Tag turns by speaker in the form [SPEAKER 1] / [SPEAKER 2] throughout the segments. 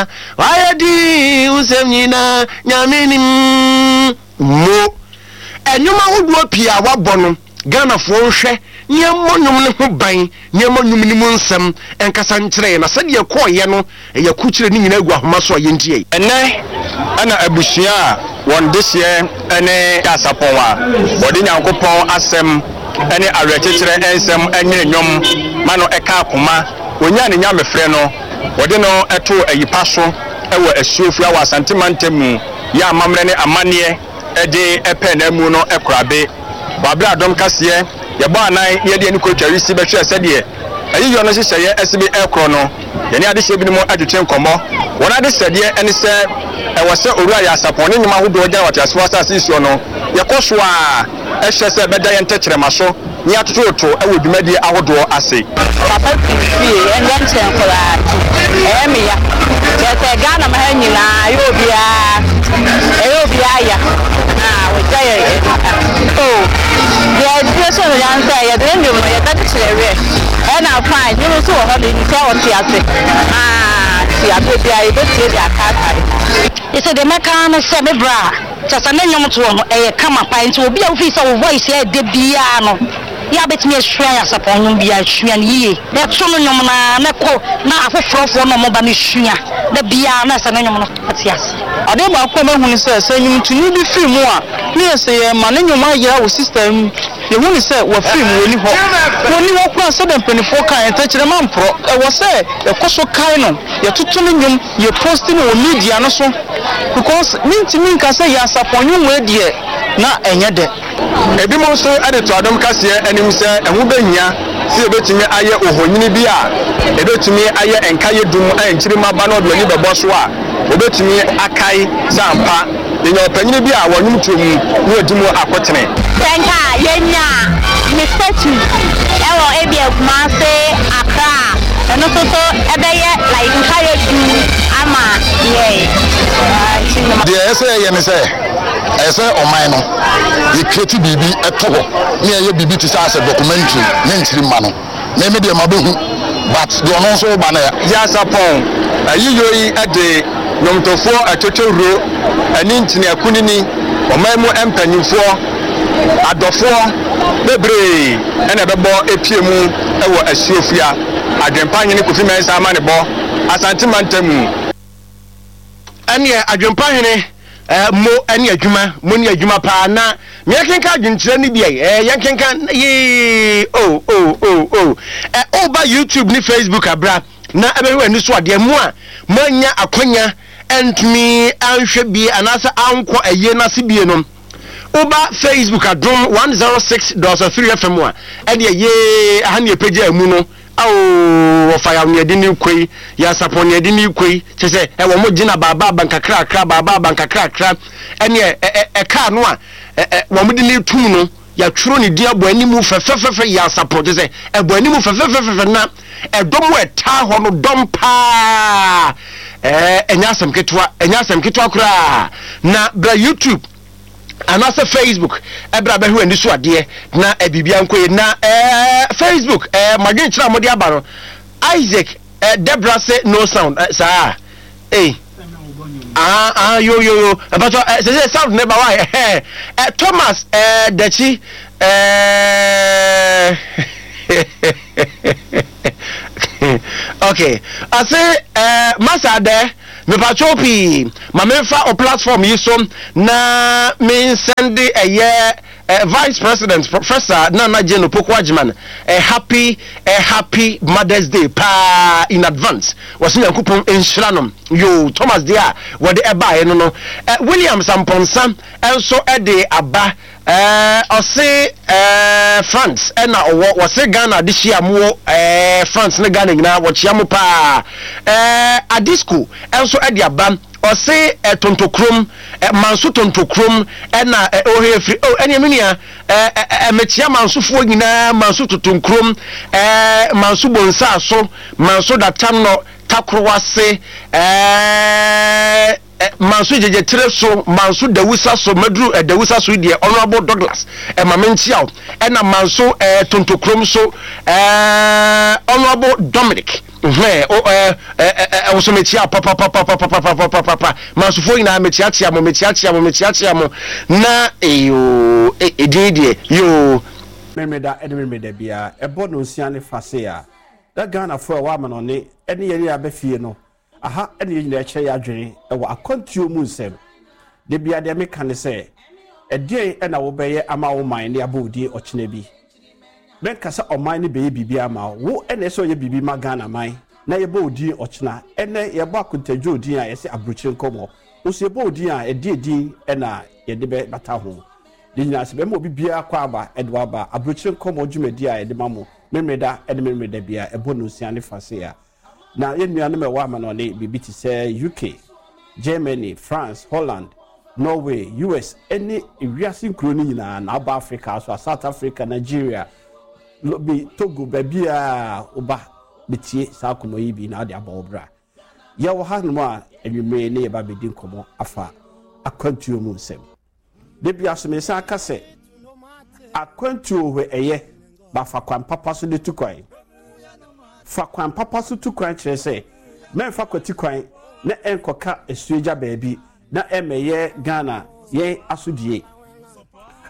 [SPEAKER 1] nyinaa wayɛ din wo nsɛm nyinaa Nyame nim mo. Ɛnwom ahodoɔ pii a wabɔ no Ghanafoɔ nhwɛ ne yɛmmɔ nnwom no ho ban ne yɛmma nnwom no mu nsɛm nkasa nkyerɛ yɛn na sɛdeɛ ɛkɔeɛ no ɛyɛ akurukyire ne nyinaa gu ahoma so a yɛntie.
[SPEAKER 2] Ɛnnɛ na abusua a wɔn dehyeɛ ne Asapɔn a wɔde Nyankopɔn asɛm ne awerɛkyekyerɛ nsɛm nwene nnwom ma no ka akoma, wɔnyaa ne nyamefrɛ no, wɔde no too ayi pa so wɔ Asuofua wɔ Asante mantam mu yɛ amammerɛ ne amanneɛ de pɛɛ n'amu no korabe. Wɔ aberɛ a dɔm kaseɛ yɛbɔ anan na yɛde yɛn ani kɔ Twarisi bɛhwɛɛ sɛdeɛ ayiyɔ no nhyehyɛeɛ asi be rekorɔ no, yɛne adehyeɛ binom twetwe nkɔmmɔ. Wɔn adesrɛdeɛ ne sɛ ɛwɔ sɛ Owura Yasapɔn ne nnwuma ahodoɔ gyina wɔ ateasefoɔ asase yi soɔ no, yɛkɔ so ara hwɛ sɛ ɛbɛda yɛn tɛkyerɛma so ne yɛatototo wɔ dwumadie ahodoɔ ase.
[SPEAKER 3] Papa firi fie ɛnyɛ nkyɛn koraa nti ɛyɛ me ya kyerɛ sɛ Ghana ma ha nyinaa ɛyɛ obiara ɛyɛ obiara ya ah wagya yɛ oh deɛ ɛdie so no ya ne sɛ yɛde ne nnwom no yɛbɛkyekyere werɛ ɛna fine nnwom nso wɔ hɔ no yɛnim sɛ ɔte ase ah nti aberɛ biara yɛbɛtie de akaakae.
[SPEAKER 4] Sɛ deɛ mɛka ara ne sɛ me bra Kyerɛ sɛ ne nnwom toɔ no ɛyɛ kama paa nti obi a wofii sɛ wo voice yɛ dɛ biaa no yɛ a bɛtumi asua yɛ asapɔn nnwom biaa sua no yie na to no nnwom no ara na kɔ na afoforɔfoɔ no a wɔba no sua da biaa na sɛ ne nnwom no ate aseɛ.
[SPEAKER 5] Adeɛ baako a mahu ne sɛ, sɛ nnwomtoni bi firi mu a, ne yɛ sɛ yɛrema ne nnwom ayera wɔ system mu. Yɛhu no sɛ wafiri mu, ɔnni hɔ. Ɔnni hɔ koraa sɛdeɛ mpanimfoɔ kaeɛ, ntɛkyerɛma mporɔ. Ɛwɔ sɛ yɛkɔ so kae no, yɛtoto ne nnwom, yɛ posti no wɔ media no so because mentumi nka sɛ yɛ asafo nnwom wei deɛ na ɛnyɛ dɛ.
[SPEAKER 2] Ebinom nso de to adom kaseɛ anim sɛ ɛho bɛhia sɛ yɛbɛtumi ayɛ ohonyini bi a ɛbɛtumi ayɛ nkaeɛ dum a nkyirimma ba na wɔde wɔn ani bɛbɔ so a wɔbɛtumi akae sɛ ampa yɛnya ɔpanyini bi a wɔ nnwomtoɔ mu na wadi mu akotene.
[SPEAKER 3] Sɛ nka yɛnya ne statue wɔ ebia Kumasi, Accra a, ɛno nso so ɛbɛyɛ like nkaeɛ dum ama yɛn.
[SPEAKER 6] Deɛ ɛyɛ sɛ yɛyɛ ne sɛ, ɛyɛ sɛ ɔman no yɛ create biribi to hɔ ne yɛyɛ biribi te sɛ asɛ documentary ne nkyirimma no. Me me deɛ mabehu but deɛ ɔno nso reba no ɛ.
[SPEAKER 2] Yasapɔn ayiyɔ yi de nnwomtofoɔ atwotwowuro ne nkyene akunini, ɔman mu mpanyimfoɔ, adɔfoɔ bebree na ɛbɛbɔ apue mu wɔ Asuofua, Adwempa Hene Kofi Mensah amanebɔ, Asante Mantam mu.
[SPEAKER 1] Ɛneɛ Adwempa Hene eh, mo ɛne adwuma, mo ne adwuma paa na meɛkenka adwenkyerɛ no bi eh, yɛnkenka yee oh oh oh oh eh, woba YouTube ne Facebook abra na ɛbɛhwɛ w'ani so adeɛ mo a moanya akwanya ɛntumi anhwɛ bie anaasɛ ankɔ ayie no ase bie no woba Facebook adom 106.3 FM a ɛdeɛ yee aha ne ɛpɛgya mu no Ao wɔfa yaw nea ɛde ne rekɔ yi, Nyansapɔn nea ɛde ne rekɔ yi, kyerɛ sɛ ɛ wɔn gyina baabaaba nkakrakra, baabaaba nkakrakra, ɛne ɛ ɛ ɛ kaa no a ɛ ɛ wɔn de ne retum no, yɛatwerɛ ne din abɔ anim fɛfɛfɛfɛ, Nyansapɔn, kyerɛ sɛ ɛbɔ anim fɛfɛfɛfɛ na ɛdɔm a ɛtaa hɔ no dɔm paa, ɛɛ ɛnyɛ asɛm ketewa, ɛnyɛ asɛm ketewa koraa, na bra YouTube. anaasɛ Facebook ɛberɛ a bɛhwɛ w'ani so adeɛ na biribiara nkɔ yie na ɛɛ Facebook ɛɛ madwenkyerɛ a mode aba no Isaac ɛɛ Debra se no sound ɛɛ saa ee ah ah yo yo yo mpatɔ ɛɛ sɛ sɛ sound ne ba wa ɛɛ ɛɛ Thomas ɛɛ Dakyi ɛɛ okay ɔse ɛɛ masa dɛ. Mepakyɛw pii, ma memfa wo platform yi so na me nsɛnde ɛyɛ Vice President Professor Nana Jane Opoku Agyman a happy a happy Mother's Day paa in advance. Wɔse Nyankopɔn nhyira no. Yoo, Thomas deɛ a wɔde ɛbaeɛ no no. Williams Amponsah nso de aba. Ɛɛ ɔse ɛɛ France ɛna ɔwɔ wɔse Ghana adehyia mo wɔ ɛɛ France ne Ghana nyinaa wɔkyea mo paa ɛɛ Adisco ɛnso ɛde aba ɔse ɛ Tontokrom ɛ Manso Tontokrom ɛna ɛ ɔhɛ firi oh ɛneɛ me nua ɛ ɛ ɛ mekyea Mansofoɔ nyinaa Manso Totonkrom ɛɛ Manso Bonsaaso Manso Datanɔ Takorowase ɛɛ. Manso gyegyetere so, manso dawusa so, maduru eh, dawusa so yi deɛ Honourable Douglas eh, ma menkyia wo, ɛna manso eh, tontokrom so eh, Honourable Dominic. Hwɛ, o, ɛ, ɛ, ɛ, ɛ, wo so mekyia papapapapapapapapa. Mansofoɔ nyinaa mekyeakyea mo, mekyeakyea mo, mekyeakyea mo. Na, eyoo, e, edin yi deɛ, yoo.
[SPEAKER 7] Memeneda ne Memeneda biara, ɛbɔ nnɔnsia ne fa sei a, na Ghanafoɔ a ɛwɔ amanɔne ne yɛn a yɛaba fie no, aha na yɛn nyinaa kyerɛ yɛn adwene wɔ akwantuo mu nsɛm. Da biara deɛ meka ne sɛ, ɛdeɛn na wobɛyɛ ama wo man na yɛabɔ wo din ɔkyena bi? Mɛnka sɛ ɔman no bɛyɛ biribi ama wo. Wo na ɛsɛ sɛ ɔyɛ biribi ma Ghana man na yɛbɔ wo din ɔkyena. Ɛnnɛ yɛbɔ Akontadwo din a yɛse aburokyire nkɔmmɔ. Wo nso yɛbɔ wo din a ɛdeɛn din na yɛde bɛbata ho? Ne nyinaa sɛ bɛma obi biara kɔ aba de waba aburokyire nkɔmmɔ dwumadi a yɛde ma mo Memeneda ne Memeneda biara ɛbɔ nnɔnsia ne fa sei a. Na yɛn nuanom a ɛwɔ amanɔne biribi te sɛ UK, Germany, France, Holland, Norway, US ne wiase nkuro no nyinaa na woba Africa nso a, South Africa, Nigeria, Lome, Togo, baabiara woba bɛtie saa nkɔmmɔ yi bi na wode abɔ wo bra. Yɛwɔ hanom a anwummere ne yɛba bɛdi nkɔmmɔ afa akwantuo mu nsɛm. Da biara so mesan ka sɛ, akwantuo hɔ ɛyɛ, but fa kwan papa so de tu kwan. Fa kwan papa so tu kwan kyerɛ sɛ, mɛmfa kwati kwan na ɛnkɔka asuagya baabi na ɛmmɛyɛ Ghana yɛn asodie.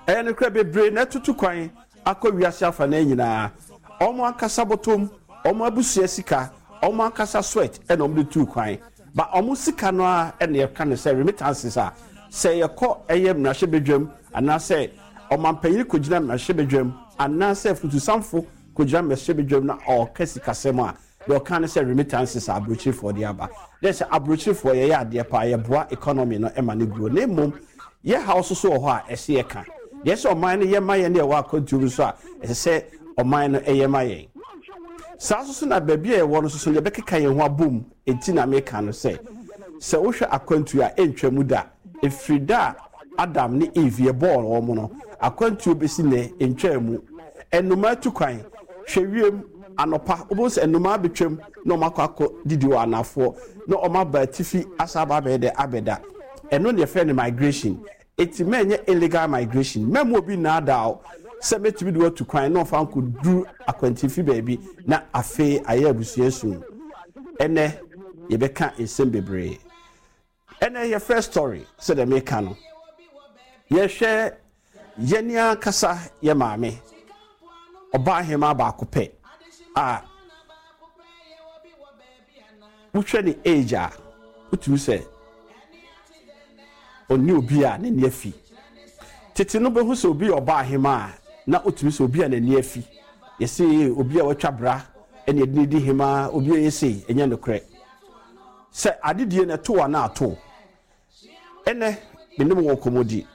[SPEAKER 7] Ɛyɛ nokorɛ bebree na atutu kwan akɔ wiase afanaa nyinaa, wɔn ankasa bɔtɔm, wɔn abusua sika, wɔn ankasa sweat na wɔde tuu kwan. Ba wɔn sika no ara na yɛka no sɛ remittances a, sɛ yɛkɔ ɛyɛ mmarahyɛbadwam anaasɛ ɔmanpanyin kɔgyina mmarahyɛbadwam anaasɛ afutusamfo kɔgyina mmarahyɛbadwam na ɔreka sikasɛm a, deɛ ɔka ne sɛ remittances a aburokyirefoɔ de aba. Dɛ sɛ aburokyirefoɔ yɛyɛ adeɛ paa, yɛboa economy no ma no grow. Na mmom yɛ haw nso so wɔ hɔ a ɛsɛ yɛka. Deɛ ɛsɛ ɔman no yɛ ma yɛn ne ɛwɔ akwantuo mu nso a ɛsɛ sɛ ɔman no yɛ ma yɛn. Saa nso so na baabi a yɛwɔ no nso so no yɛbɛkeka yɛn ho abom. Enti na meka no sɛ, sɛ wohwɛ akwantuo a, ɛntwa mu da. Ɛfiri da a Adam ne Eve yɛbɔɔ wɔn no, akwantuo bɛsi nnɛ, ɛntwaa mu. Nnomaa tu kwan. Hwɛ wiem, anɔpa, wobɛhu sɛ nnomaa bɛtwam na wɔakɔ akɔdidi wɔ anafoɔ, na wɔaba atifi asan aba abɛyɛ dɛ abɛda. Ɛno na yɛfrɛ no migration. Enti mɛnyɛ illegal migration. Mɛmma obi nnaadaa wo sɛ mɛtumi de wo atu kwan na ɔmfa nkɔduru akwantifi baabi na afei ayɛ abusua su. Ɛnnɛ yɛbɛka nsɛm bebree. Ɛnnɛ yɛ first story sɛdeɛ meka no. Yɛhwɛ yɛn ankasa yɛ maame, ɔbaahemaa baako pɛ a Wohwɛ ne age a, wotumi sɛ ɔne obi a n'ani afi. Tete no bɛhu sɛ obi yɛ ɔbaa hemaa a, na wotumi sɛ obi a n'ani afi. Yɛse obi a watwa bra ɛna yɛde no di hemaa, obi a ɔyɛ sei, ɛnyɛ nokorɛ. Sɛ adedie no ɛto wo anaa ato wo. Ɛnɛ me ne mo wɔ nkɔmmɔdi.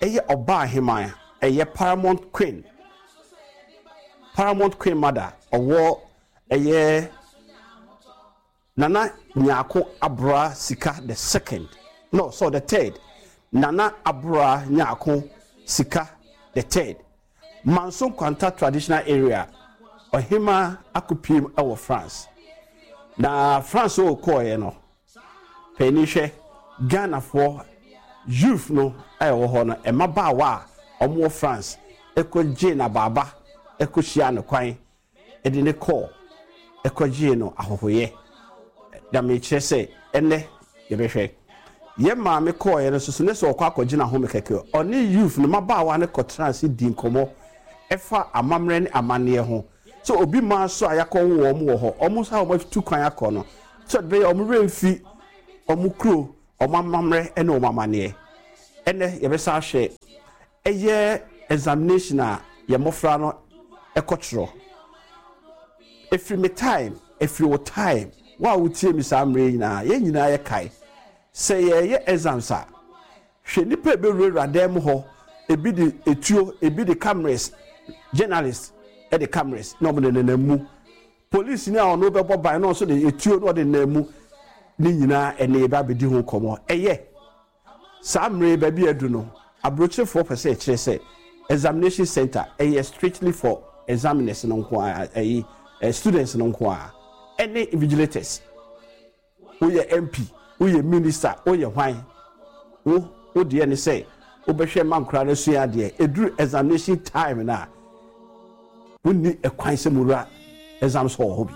[SPEAKER 7] Ɛyɛ ɔbaa hemaa, ɛyɛ Paramount Queen, Paramount Queen Mother, ɔwɔ Ɛyɛ Nana Nyarko Abora Sika the second, no, so the third, Nana Abora Nyarko Sika the third, Manso Nkwanta Traditional Area, Ɔhemaa akɔpiem wɔ France. Na France a ɔkɔeɛ no, panin hwɛ, Ghanafoɔ youth no a ɛwɔ hɔ no, mmabaawa a wɔwɔ France kɔgyee no abaaba kɔhyiaa no kwan de no kɔɔ kɔgyee no ahɔhoyɛ. Na mekyerɛ sɛ ɛnnɛ yɛbɛhwɛ. Yɛn maame kɔɔeɛ no nso so ne sɛ ɔkɔ akɔgye n'ahome kɛkɛ. Ɔne youth no mmabaawa no kɔtenaa ase dii nkɔmmɔ ɛfa amammerɛ ne amanneɛ ho. Sɛ obi mmaa nso a yɛakɔwo wɔn wɔ hɔ, wɔn nso a wɔatu kwan akɔ no, sɛ ɔde bɛyɛ wɔn werɛ mfi wɔn kuro, wɔn amammerɛ ne wɔn amanneɛ. Ɛnnɛ yɛbɛsan ahwɛ Ɛyɛ examination a yɛn mmɔfra no kɔ twerɛ. Ɛfiri me time, ɛfiri wo time, wo a wotie me saa mmerɛ yi nyinaa, yɛn nyinaa yɛkae sɛ yɛreyɛ exams a, hwɛ nnipa a ɛbɛwurawura dan mu hɔ, ebi de etuo, ebi de cameras, journalists de cameras na wɔde nenam mu. Polisini a ɔno bɛbɔ ban na ɔnso de etuo na ɔde nenam mu. Ne nyinaa ɛnɛ yɛbɛ abɛdi ho nkɔmmɔ. Ɛyɛ. Saa mmere yi baabi a adu no, aburokyerefoɔ pɛ sɛ ɛkyerɛ sɛ examination centre ɛyɛ strictly for examiners no nko ara, ɛyi, students no nko ara, ɛne invigilators. Woyɛ MP, woyɛ minister, woyɛ hwan, wo, wo deɛ ne sɛ wobɛhwɛ ma nkwadaa no asua adeɛ. Ɛduru examination time no a, wonni ɛkwan sɛ mowura exams hall hɔ bi.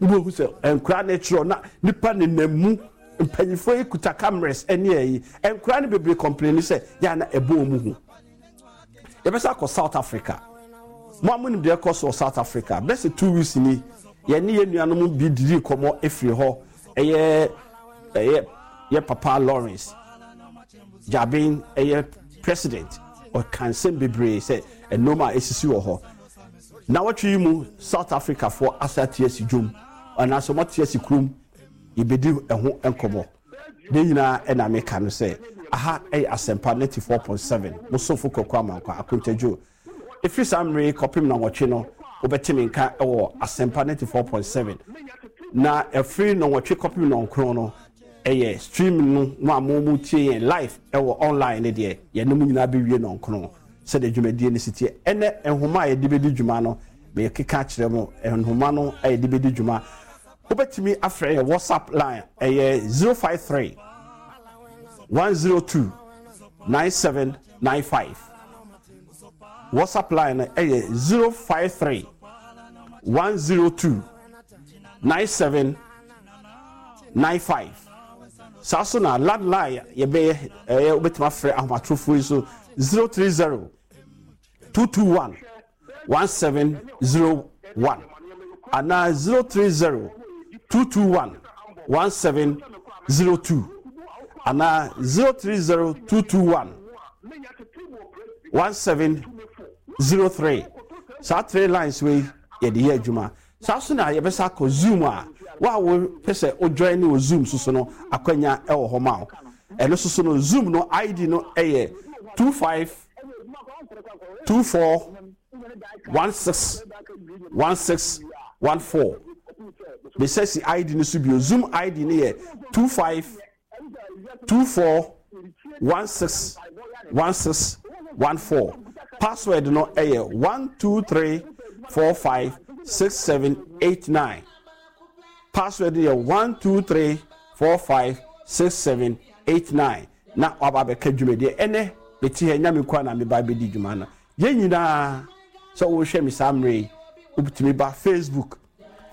[SPEAKER 7] Wobɛhu sɛ nkwadaa no rekyerɛw na nipa nenam mu, mpanyinfoɔ yi kuta cameras ne ayi. Nkwadaa no bebree complain sɛ yɛ a na ɛbɔ wɔn hu. Yɛbɛsa akɔ South Africa. Mo a monim deɛ ɛkɔ so wɔ South Africa, bɛsɛ 2 weeks ni, yɛne yɛn nuanom bi didi nkɔmmɔ efiri hɔ. Ɛyɛ yɛ papa Lawrence Jabin, ɛyɛ president, ɔka nsɛm bebree sɛ nneɛma a esisi wɔ hɔ. Na wɔtwe yi mu South Africa foɔ asa ate asi dwom anaasɛ wɔn ate asi kurom, yɛbɛdi ɛho nkɔmmɔ. Ne nyinaa ɛna meka no sɛ aha ɛyɛ Asɛmpa 94.7, mo somfo Kwaku Amankwa Akontadwo. Ɛfiri saa mmere yi kɔpem na wɔtwe no, wobɛte me nka ɛwɔ Asɛmpa 94.7, na ɛfiri nɔnwɔtwe kɔpem nɔnkron no ɛyɛ stream no. Mo a mo tie yɛn live ɛwɔ online ne deɛ, yɛne mo nyinaa bɛwie nɔnkron sɛdeɛ dwumadie no si teɛ. Ɛnɛ nhoma a yɛde bɛdi dwuma no, mekeka kyerɛ mo nhoma no a yɛde bɛdi dwuma. Wobɛtumi afrɛ yɛ WhatsApp line, ɛyɛ 053 102 9795. WhatsApp line no ɛyɛ 053 102 9795. Saa so na landline yɛbɛyɛ, ɛyɛ wobɛtumi afrɛ ahomatorofoɔ yi so, 030 221 1701 anaa 030 221 1702 anaa 030 221 1703. Saa three lines wei yɛde yɛ adwuma. Saa so na yɛbɛsa akɔ Zoom a wo a wopɛ sɛ wo join ne wɔ Zoom so no, akwanya ɛwɔ hɔ ma wo. Ɛno so no, Zoom no ID no ɛyɛ 25 24 16 16 14. Mesɛ si ID no so bio, Zoom ID no yɛ 25 24 16 16 14. Password no ɛyɛ 1 2 3 4 5 6 7 8 9. Password no yɛ 1 2 3 4 5 6 7 8 9. Na waba abɛka dwumadie. Ɛnɛ mete ha, Nyame nkoa na meba bɛdi dwuma no. Yɛn nyinaa sɛ wohwɛ me saa mmerɛ yi, wobɛtumi ba Facebook,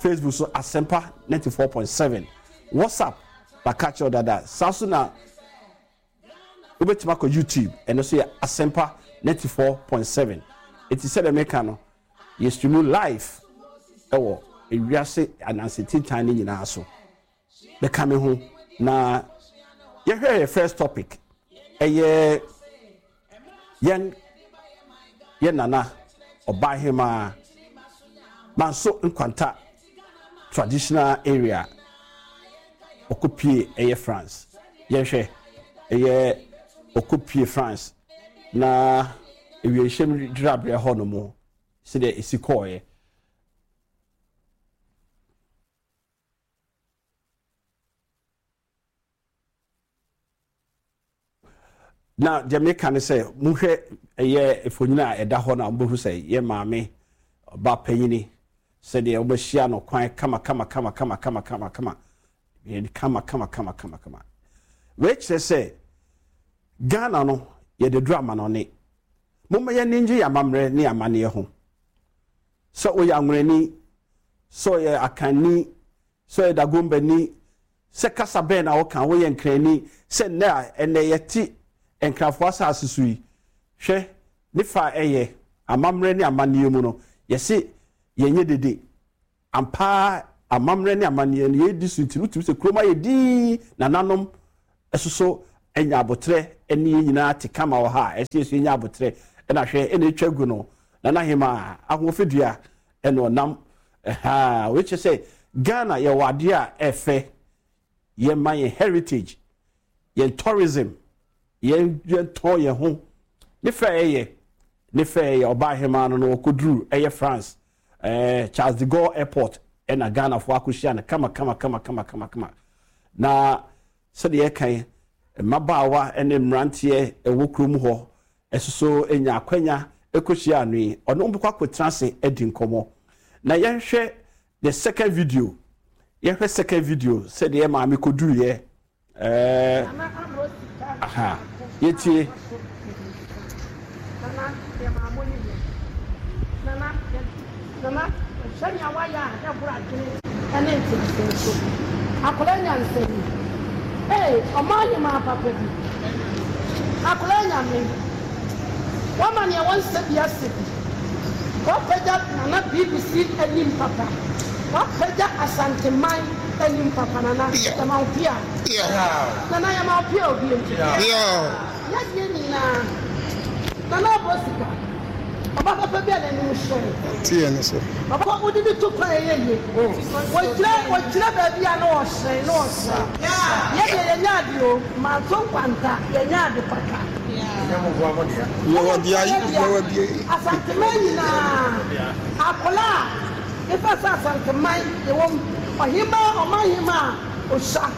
[SPEAKER 7] Facebook so Asɛmpa 94.7. WhatsApp baka kyerɛw dada. Saa so na wobɛtumi akɔ YouTube, ɛno so yɛ Asɛmpa 94.7. Ɛti sɛdeɛ meka no, yɛ stream live ɛwɔ ewiase anansetintan no nyinaa so. Bɛka me ho na yɛhwɛ yɛ first topic, ɛyɛ yɛn yɛ nana ɔbaahemaa Manso Nkwanta Traditional Area ɔkɔpie ɛyɛ France. Yɛhwɛ ɛyɛ ɔkɔpie France na ewiemhyɛm gyinaberɛ hɔ no mu sɛdeɛ esi kɔɔeɛ. Na deɛ meka ne sɛ mohwɛ ɛyɛ mfonyin a ɛda hɔ no a, mobɛhu sɛ yɛ maame ɔba panyini sɛdeɛ wobɛhyia no kwan kama kama kama kama kama kama kama kama kama kama kama kama. Wei kyerɛ sɛ Ghana no yɛde duru amanɔne. Momma yɛn ani ngye yɛn amammerɛ ne amanneɛ ho, sɛ woyɛ Anworani, sɛ ɔyɛ Akanni, sɛ ɔyɛ Dagombani, sɛ kasa bɛn na woka, woyɛ Nkrani, sɛ nnɛ a ɛnnɛ yɛte Nkrafoɔ asase so yi, hwɛ ne fa a ɛyɛ amammerɛ ne amanneɛ mu no, yɛse yɛnyɛ dede. Ampa ara amammerɛ ne amanneɛ no yɛdi so nti no, wotumi sɛ kurom ayɛ dinn, nananom ɛsoso anya abotrɛ ne yɛn nyinaa te kama wɔ ha a ɛsɛ yɛso yɛnya abotrɛ. Ɛna hwɛ ɛna ɛtwa gu no, nana hema ahoɔfɛdua ɛna ɔnam ɛha. Wei kyerɛ sɛ Ghana yɛwɔ adeɛ a ɛfɛ, yɛma yɛn heritage, yɛn tourism, yɛn yɛntɔn yɛn ho ne fɛ. Ɛyɛ ne fɛ, ɛyɛ ɔbaa hema no ɔkɔduru ɛyɛ France, Charles de Gaulle Airport, ɛna Ghanafoɔ akɔhyia no kama kama kama kama kama kama. Na sɛdeɛ yɛkan mmabaawa ne mmeranteɛ ɛwɔ kurom hɔ ɛsoso nya akwanya ɛkɔhyia ano yi, ɔne wɔn bɛkɔ akɔtena ase adi nkɔmmɔ. Na yɛhwɛ the second video, yɛhwɛ second video sɛdeɛ maame kɔduruiɛ. Aha, yɛtie.
[SPEAKER 8] Nana, yɛ maa mo ne yɛ. Nana, yɛ, Nana, sɛnea wayɛ a ɛboro adwene. Ɛne nteaseɛ nso. Akwadaa nyansani. Ee, ɔman hemaa papa bi. Akwadaa nyame. Wama nea wɔnsɛ bi asɛ bi. Wapagya Nana BBC anim papa. Wapagya Asanteman anim papa Nana yɛma wo pia. Nana yɛma wo pia obiem. Yadeɛ nyinaa Nana abɔ sika. Ɔba papa bi a n'anim hyerɛn.
[SPEAKER 9] Te yɛn so.
[SPEAKER 8] Ɔba wode no to kwan a ɛyɛ yie. Wɔgyina wɔgyina baabi a na ɔhyerɛn na ɔhyerɛn. Yɛ deɛ yɛnyɛ ade o, manto nkwanta, yɛnyɛ ade kwata.
[SPEAKER 9] Yɛwɔ deɛ yɛwɔ deɛ.
[SPEAKER 8] Asanteman nyinaa akwadaa a efa sɛ Asanteman yɛwɔ mu ɔhemaa ɔmanhemaa a ɔsua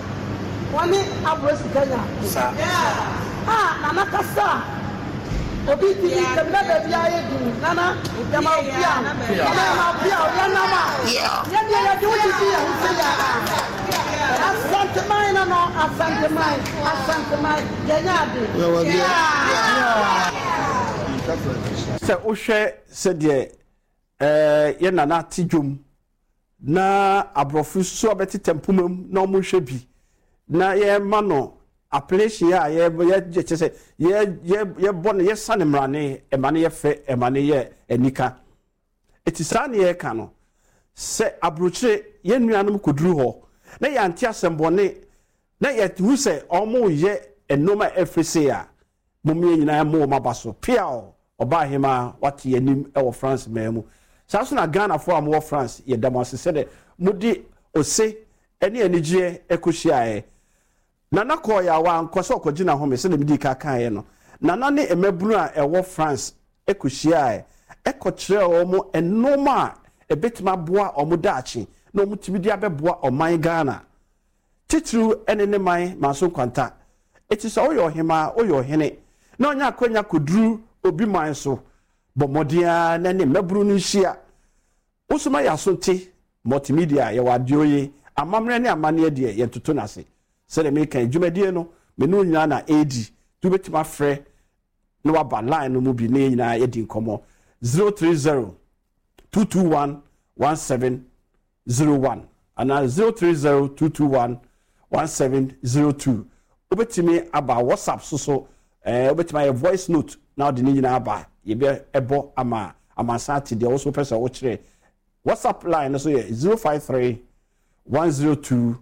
[SPEAKER 8] wɔne aborɔ sika nya a nana kasa a. Obi di ni tɛm na baabi ayɛ din nana yɛma wo pia nana yɛma wo pia yɛ nam a yɛ deɛ yɛde wo didi yɛ ho sɛ yɛ Asanteman no no Asanteman Asanteman yɛnyɛ ade.
[SPEAKER 7] Sɛ wohwɛ sɛdeɛ ɛɛ yɛ nana te dwom na aborɔfo nso abɛtetɛ mpoma mu na wɔhwɛ bi na yɛma no appellation a yɛ yɛ kyɛ sɛ yɛ yɛ yɛbɔ no yɛsa ne mmarane ɛma no yɛ fɛ ɛma no yɛ anika eti saa ne yɛka no sɛ aburokyire yɛn nuanom kɔduru hɔ na yɛante asɛmbɔne na yɛhu sɛ wɔreyɛ nneɛma a ɛfiri se a Mom yɛn nyinaa mmɔ wɔn aba so. Peaw! Ɔbaahemaa, wate yɛn anim wɔ France man mu. Saa nso na Ghanafoɔ a mowɔ France, yɛda mo ase sɛdeɛ mode ose ne anigyeɛ kɔhyiaeɛ. Nana kɔeɛ a wankɔ sɛ ɔkɔgye n'ahome sɛdeɛ medii kan kaeɛ no. Nana ne mmabunu a ɛwɔ France kɔhyiaeɛ kɔkyerɛɛ wɔn nnoɔma a ɛbɛtumi aboa wɔn daakye na wɔtumi de abɛboa ɔman Ghana. Titiriw ne ne man Manso Nkwanta. Enti sɛ woyɛ ɔhemmaa, woyɛ ɔhene, na ɔnya akwanya kɔduru obi man so, bɔ mmɔden ara na ne mmabunu no nhyia. Wo nso ma yɛn aso nte. Multimedia, yɛwɔ adeɛ oye, amammerɛ ne amanneɛ deɛ, yɛntoto no ase. Sɛdeɛ meka yi, dwumadie no, me ne wo nyinaa na ɛredi, nti wobɛtumi afrɛ na waba line no mu bi na yɛn nyinaa yɛadi nkɔmmɔ. 030 221 17 01 anaa 030 221 1702. Wobɛtumi aba WhatsApp so so, eh, wobɛtumi ayɛ voice note na wode ne nyinaa aba. Yɛbɛbɔ ama amansan ate deɛ wo so wopɛ sɛ wokyerɛ. WhatsApp line no so yɛ 053 102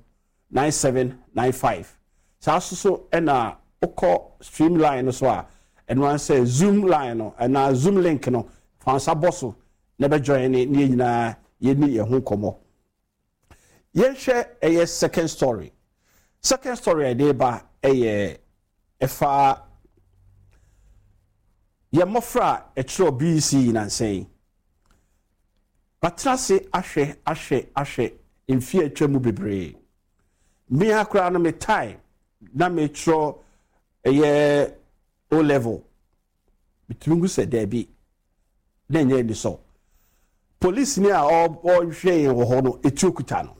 [SPEAKER 7] 9795. Saa so so ɛna wokɔ stream line no so a, ɛno ara sɛ Zoom line no anaa Zoom link no, fa nsa bɔ so na bɛ join ne ne yɛn nyinaa yɛni yɛn ho nkɔmmɔ. Yɛnhwɛ ɛyɛ second story. Second story a yɛde ba ɛyɛ ɛfa yɛn mmɔfra a ɛkyerɛw BEC yi nansa yi. Matena ase ahwɛ ahwɛ ahwɛ mfe a atwa mu bebree. Mmea koraa no me time na mekyerɛ ɛyɛ O level. Metumi hu sɛ daabi, na ɛnyɛ anisɔ. Polisini a ɔrehwɛ yɛn wɔ hɔ no, etuo kuta no.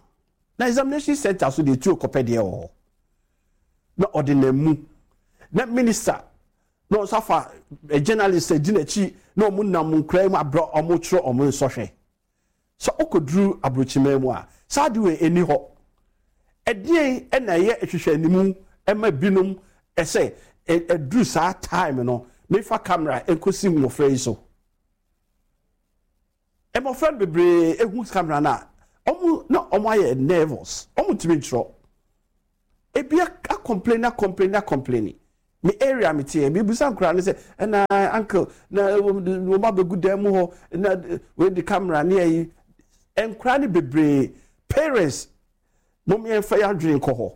[SPEAKER 7] Na examination center so deɛ etuo kɔpɛ deɛ wɔ hɔ. Na ɔde nam mu. Na minister na ɔnso afa eh, journalist adi n'akyi na wɔn nam nkura mu abrɛ wɔn twerɛ wɔn nsɔhwɛ. Sɛ wokɔduru aburokyiman mu a, saa ade wei ɛnni hɔ. Ɛdeɛn na ɛyɛ nhwehwɛanimu ma binom sɛ ɛduru saa time no memfa camera nkɔsi mmɔfra yi so? Mmɔfra no bebree hu camera no a, wɔn na wɔn ayɛ nervous, wɔn ntumi ntwerɛ. Ebi akɔmpleni akɔmpleni akɔmpleni. Me area me teɛ, mebisa nkwadaa no sɛ, ɛna uncle, na wɔn abɛgu dan mu hɔ, na wei de camera ne ayi. Nkwadaa no bebree, parents, mo yɛmfa yɛn adwene nkɔ hɔ.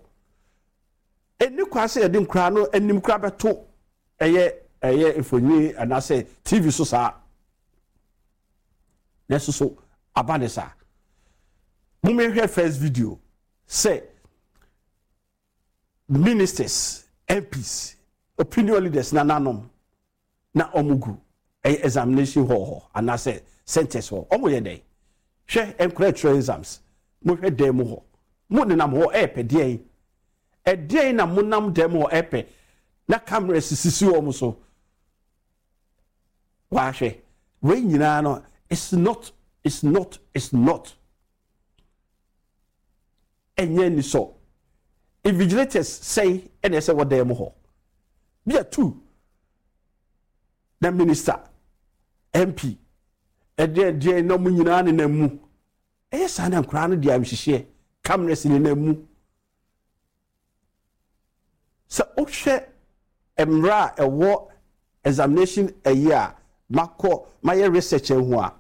[SPEAKER 7] Ɛni kwan sɛ yɛde nkwadaa no anim koraa bɛto ɛyɛ ɛyɛ mfonini anaasɛ TV so saa. Nanso so aba ne saa. Mo yɛhwɛ first video sɛ ministers, MPs, opinion leaders nananom na wɔn gu ɛyɛ examination hall hɔ anaasɛ centers hɔ wɔn yɛ dɛn hwɛ nkora ɛtwerɛ exams mo hwɛ dan mu hɔ mo nenam hɔ ɛɛpɛ deɛn ɛdeɛn na mo nam dan mu hɔ ɛɛpɛ na cameras sisi wɔn so wahwɛ wei nyinaa no it's not it's not it's not. Ɛnyɛ anisɔ. Invigilators sɛn na ɛsɛ wɔ dan mu hɔ? Bi a tu na minister, MP, ɛdeɛn deɛn na wɔn nyinaa nenam mu. Ɛyɛ saa na nkoraa no de ayamhyehyeɛ, cameras nenam mu. Sɛ wohwɛ mmerɛ a ɛwɔ examination ɛyi a makɔ mayɛ research ahu a,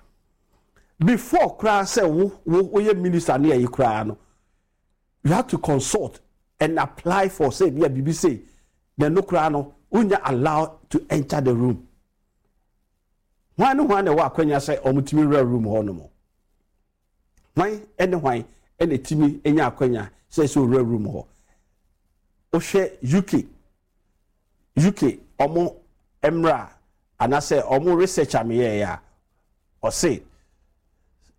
[SPEAKER 7] before koraa sɛ wo wo woyɛ minister ne ɛyi koraa no, you have to consult and apply for sɛ ebi a biribi sei na ɛno koraa no wonya allowed to enter the room. Hwan ne hwan na ɛwɔ akwanya sɛ wɔtumi wura room hɔ nom? Hwan ne hwan na ɛtumi nya akwanya sɛ sɛ owura room hɔ? Wohwɛ UK, UK ɔmo mmra anaasɛ ɔmo research a meyɛeɛ a, ɔse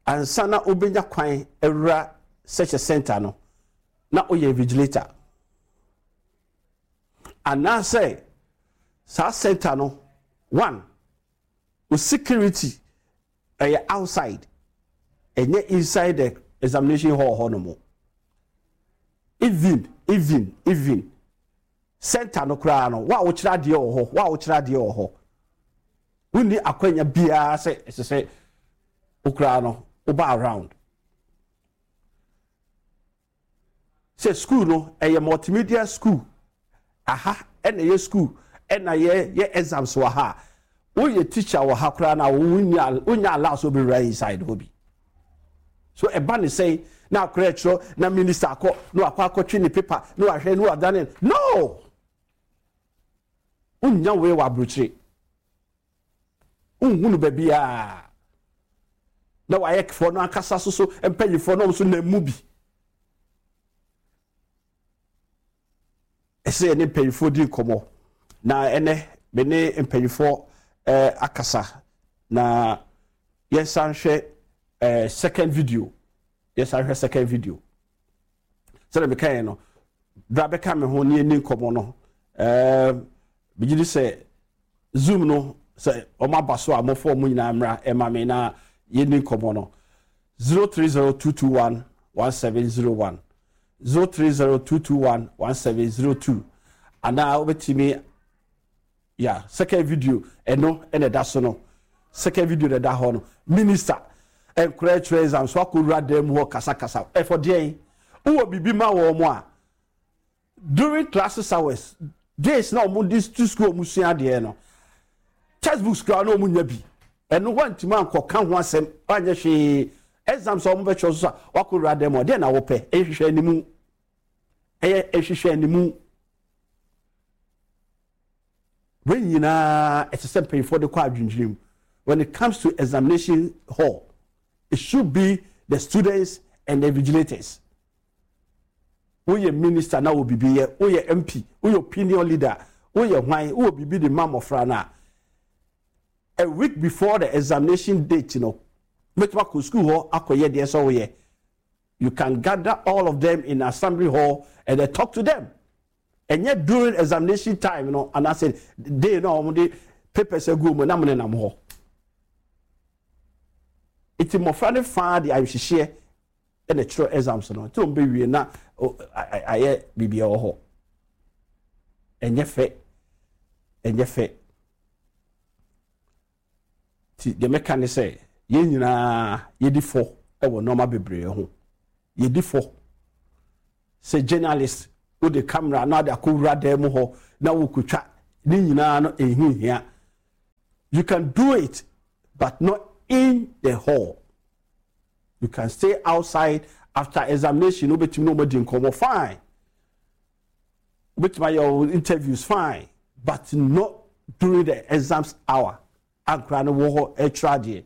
[SPEAKER 7] ansa na wobɛnya kwan awura such a center no, na woyɛ invigilator. Anaasɛ saa center no, one, wo security Ɛyɛ outside, ɛnyɛ inside the examination hall hɔ nom. Even, even, even center no koraa no, wo a wokyerɛ adeɛ wɔ hɔ, wo a wokyerɛ adeɛ wɔ hɔ, wonni akwanya biara sɛ ɛsɛ sɛ wo koraa no woba around. Sɛ school no ɛyɛ multimedia school aha ɛna ɛyɛ school ɛna yɛ yɛ exams wɔ ha a woyɛ teacher wɔ ha koraa na wonya wonya allow sɛ wobɛwura inside hɔ bi so ɛba ne sɛn na akora ɛkyerɛ na minister akɔ na wakɔ akɔtwe ne paper na wahwɛ na wadane no wonya wei wɔ aburokyire. Wonhu no baabiara. Na wayɛkfoɔ no ankasa so so mpanyinfoɔ no nso nam mu bi. Ɛsɛ yɛne mpanyinfoɔ di nkɔmmɔ. Na ɛnɛ me ne mpanyinfoɔ eh, akasa. Na yɛnsan hwɛ eh, second video. Yɛnsan hwɛ second video. Sɛdeɛ mekaeɛ no, bra bɛka me ho ne yɛni nkɔmmɔ no. Eh, megye di sɛ Zoom no sɛ wɔn aba so a mɔfɔ wɔn nyinaa mmra ɛma me na yɛnni nkɔmmɔ no 030221 1701 030221 1702 anaa wobɛtumi ya second video ɛno ɛna ɛda so no second video na ɛda hɔ no minister nkora ɛtwerɛ exam so akɔwura dan mu hɔ kasakasa ɛfɔ deɛn wowɔ biribi ma wɔn a During classes hours, days na wɔn de to school wɔn sua adeɛ no, textbooks koraa na wɔn nya bi. Ɛno wɔntumi ankɔka ho asɛm, anyɛ hwee. Exams a wɔn bɛtwerɛ so a wakɔ wura dɛm ɔdeɛ na wɔpɛ, ɛyɛ hwehwɛ animu. Ɛyɛ hwehwɛ animu. Wei nyinaa ɛsɛ sɛ mpanyinfoɔ de kɔ adwendwene mu. When it comes to examination hall, it should be the students and the vigilators. Woyɛ minister na wɔ biribi yɛ, woyɛ MP, woyɛ opinion leader, woyɛ hwan, wowɔ biribi de ma mmɔfra no a, a week before the examination date no, wobɛtumi akɔ school hɔ akɔyɛ deɛ sɛ woyɛ. You can gather all of them in assembly hall and then talk to them. Ɛnyɛ during examination time no anaasɛ day no a wɔde papers agu mu na mo nenam hɔ. Nti mmɔfra no faa de ayɔhyehyeɛ na ɛkyerɛ exams no nti wɔn bɛwie na ayɛ biribi ɛwɔ hɔ ɛnyɛ fɛ ɛnyɛ fɛ ti deɛ mɛka ne sɛ yɛn nyinaa yɛdi fɔ wɔ nneɛma bebree ho yɛdi fɔ sɛ journalist wode camera na ade akɔwura dan mu hɔ na wokɔtwa ne nyinaa no ɛho hia you can do it but not in the hall You can stay outside after examination wobɛtumi ne wɔn adi nkɔmmɔ fine wobɛtumi ayɛ wɔn interviews fine but not during the exams hour ankora no wɔ hɔ ɛtwerɛ adeɛ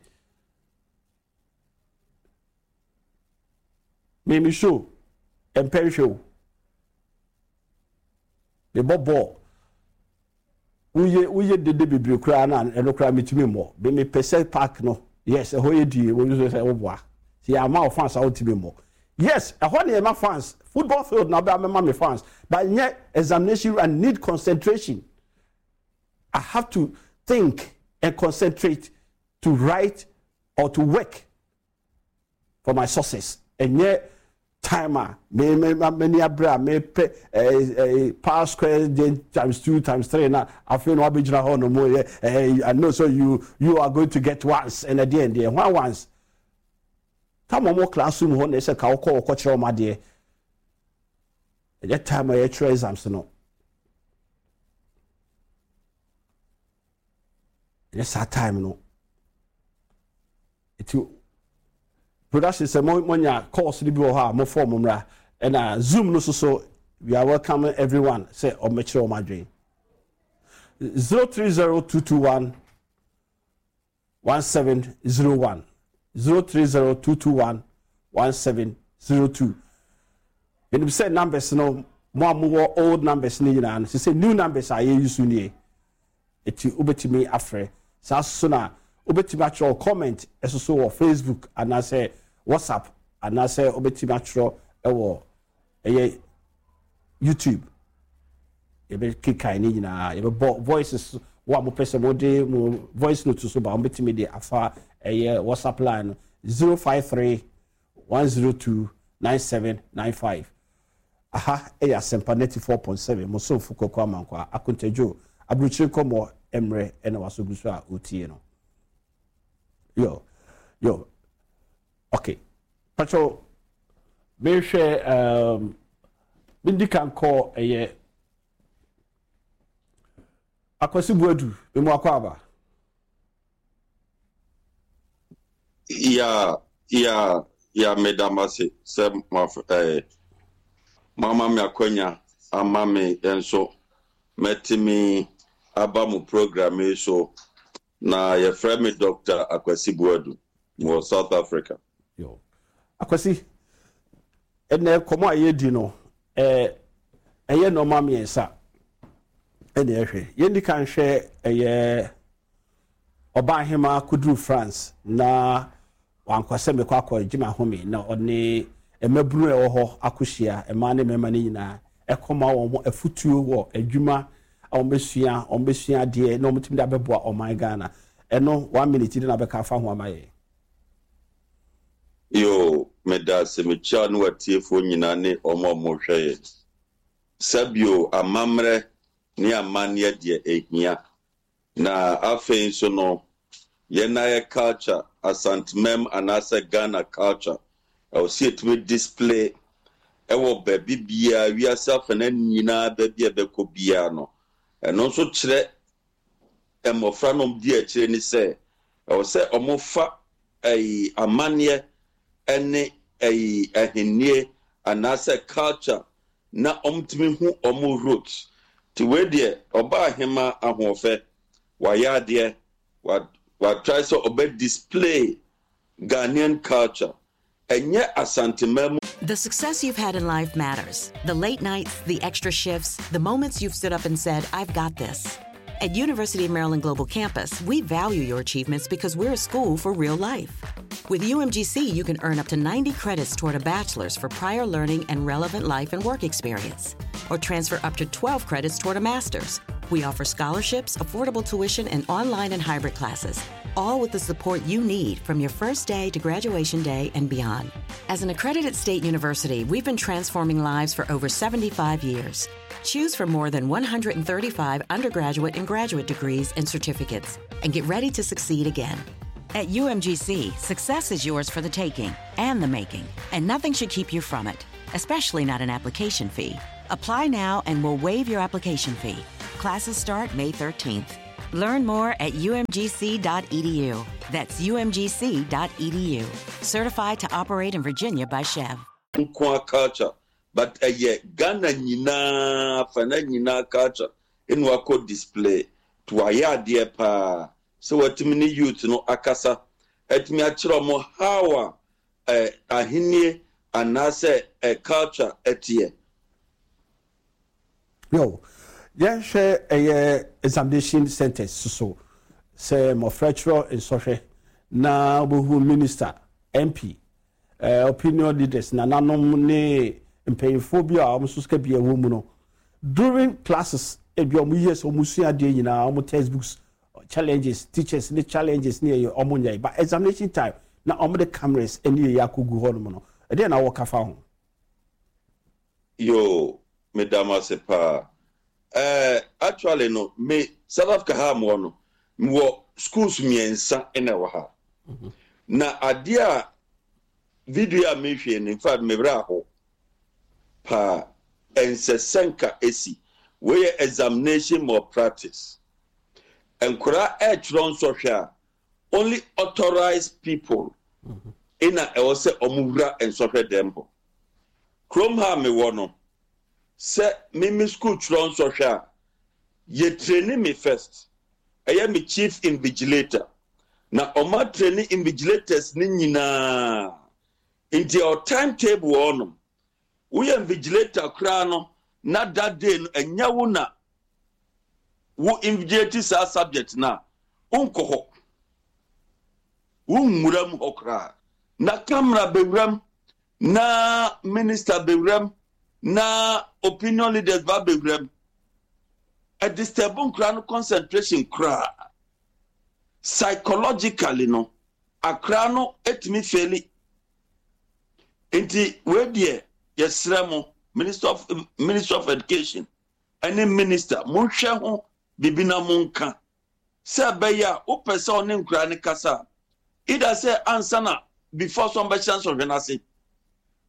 [SPEAKER 7] mimi show mpɛ nhwɛ o mebɔ bɔɔl Woyɛ woyɛ dede bebree koraa na ɛno koraa metumi mmɔ. Me mepɛ sɛ park no yes ɛhɔ yɛ die wɔn nso sɛ woboa. Sɛ yɛama wo fans a wontumi mmɔ. Yes ɛhɔ na yɛma fans football field na ɔbɛ amɛma me fans but nyɛ examination I need concentration. I have to think and concentrate to write or to work for my success. Ɛnyɛ. Time a me me m'ani abere a mepɛ ɛɛ ɛɛ power square times two times three na afei na wabɛgyina hɔ nom yɛ ɛɛ I know so you you are going to get once ɛna deɛ deɛ hwan once. Time a wɔwɔ classroom hɔ na ɛsɛ ka wokɔ wɔkɔ kyerɛ wɔn adeɛ. Ɛnyɛ time a yɛtwerɛ exams no. Ɛnyɛ saa time no. Nti production sɛ mo monya calls no bi wɔ hɔ a mo fɔ mo mmra ɛna zoom no so so we are welcoming everyone sɛ ɔmmɛkyerɛ wɔn adwene. 030221 1701 030221 1702 menim sɛ numbers no mo a mowɔ old numbers no nyinaa no sɛ sɛ new numbers a yɛyi so nie Eti wobɛtumi afrɛ. Saa nso na wobɛtumi atwerɛ wo comment nso so wɔ Facebook anaasɛ WhatsApp anaasɛ wobɛtumi atwerɛ wɔ ɛyɛ YouTube. Yɛbɛkekan ne nyinaa. Yɛbɛbɔ voices wo a mopɛ sɛ mode mo voice note so ba wobɛtumi de afa ɛyɛ WhatsApp line no 053 102 9795. Aha yɛ Asɛmpa 94.7, mo somfo Kwaku Amankwaa, Akontadwo, aburokyire nkɔmmɔ mmerɛ na waso gu so a ɔretie no. Yo, yo, okay. Pacho, mehwɛ, um, mendi kan kɔ ɛyɛ Akwasi Buadu, memu akɔ aba.
[SPEAKER 10] Ya ya ya meda mo ase sɛ mo eh, moama me akwanya ama me nso mɛtumi aba mo program yi so na yɛfrɛ me Dr. Akwasi Buadu wɔ South Africa.
[SPEAKER 7] Yo. Akwasi, ɛnɛ kɔmɔ a yɛdi no ɛyɛ nneɛma mmiɛnsa ɛna ɛhwɛ. Yɛndi kan hwɛ ɛyɛ Ɔbaahemaa kɔduruu France na wankɔ sɛ mekɔ akɔgye m'ahome na ɔne mmabunu a ɛwɔ hɔ akɔhyia, mmaa ne mmarima no nyinaa, ɛkɔma wɔn afutuo wɔ adwuma a wɔbɛsua, wɔbɛsua adeɛ na wɔtumi de abɛboa ɔman Ghana. Ɛno one minute de na bɛka afa ho ama yɛn.
[SPEAKER 10] Yoo, meda ase, mekyia ne w'atiefoɔ nyinaa ne wɔn a wɔhwɛ yɛn. Sɛbio amammerɛ ne amanneɛ deɛ ɛhia. Na afei nso no, yɛn ara yɛ culture, Asantemam anaasɛ Ghana culture, ɛwɔ sɛ yɛtumi display ɛwɔ baabi biara, wiase afana nyinaa baabi a ɛbɛkɔ biara no. Ɛno nso kyerɛ mmɔfra no di akyire ne sɛ, ɛwɔ sɛ wɔfa ɛyi amanneɛ ɛne ɛyi ahennie anaasɛ culture na wɔtumi hu wɔn roots. Nti wei deɛ ɔbaa hemaa ahoɔfɛ, wayɛ adeɛ, wa wa try sɛ ɔbɛ display Ghanaian culture. Ɛnyɛ Asanteman mu.
[SPEAKER 11] The success you've had in life matters. The late nights, the extra shifts, the moments you've stood up and said, I've got this. At University of Maryland Global Campus, we value your achievements because we're a school for real life. With UMGC, you can earn up to 90 credits toward a bachelor's for prior learning and relevant life and work experience, or transfer up to 12 credits toward a master's. We offer scholarships, affordable tuition, and online and hybrid classes, all with the support you need from your first day to graduation day and beyond. As an accredited state university, we've been transforming lives for over 75 years. Choose from more than 135 undergraduate and graduate degrees and certificates and get ready to succeed again. At UMGC, success is yours for the taking and the making, and nothing should keep you from it, especially not an application fee. Apply now and we'll waive your application fee. Classes start May 13th. Learn more at umgc.edu. That's umgc.edu. Certified to operate in Virginia by Chev.
[SPEAKER 10] Nkoa culture but ɛyɛ Ghana nyinaa afana nyinaa culture ɛna wakɔ display nti wayɛ adeɛ paa sɛ watumi ne youth no akasa atumi akyerɛ ɔmo how a eh, ahennie anaasɛ eh, culture ɛteɛ.
[SPEAKER 7] Yo, yɛnhwɛ ɛyɛ examination centers soso sɛ mmɔfra kyerɛ nsɔhwɛ na wobɛhu minister, MP, eh, opinion leaders, nananom ne mpanyinfoɔ bi a wɔn nso sika bi ɛwɔ mu no during classes ebi wɔn yɛ sɛ wɔn sua adeɛ nyinaa wɔn textbooks challenges teachers ne challenges ne ɛyɛ wɔn nyɛ but examination time na wɔn de cameras ne ɛyɛ akɔgu hɔ nom no ɛdeɛ na wɔka fa ho.
[SPEAKER 10] Yoo, meda mo ase paa. Eh, actually no, me South Africa ha a mewɔ no, mewɔ schools mmiɛnsa na ɛwɔ ha. Na adeɛ a video a mehwɛ no, in fact, me werɛ aho paa. Ɛnsɛ sɛ nka esi. Wei yɛ examination malpractice. Nkwadaa ɛretwerɛ nsɔhwɛ a, only authorized people na ɛwɔ sɛ wɔn wura nsɔhwɛ dɛm hɔ. Kurom ha a mewɔ no, sɛ me me school twerɛ nsɔhwɛ a, yɛ traini me first, ɛyɛ me chief invigilator, na wɔn atraini invigilators no nyinaa, nti ɛwɔ time table wɔ hɔnom. Woyɛ invigilator koraa no, na that day no ɛnyɛ wo na wo invigilate saa subject no a, wonkɔ hɔ. Wonwura mu hɔ koraa. Na camera bɛwura mu, na minister bɛwura mu, na opinion leaders ba bɛwura mu. Ɛdisturb nkora no concentration koraa. Psychologically no, akora no etumi feli. Nti wei deɛ yɛsrɛ mo minister of minister of education ɛne minister monhwɛ ho biribi na monka sɛ ɛbɛyɛ a wopɛ sɛ ɔne nkoraa no kasa a, either sɛ ansa na before sɛ ɔmbɛhyɛ nsɔhwɛ no ase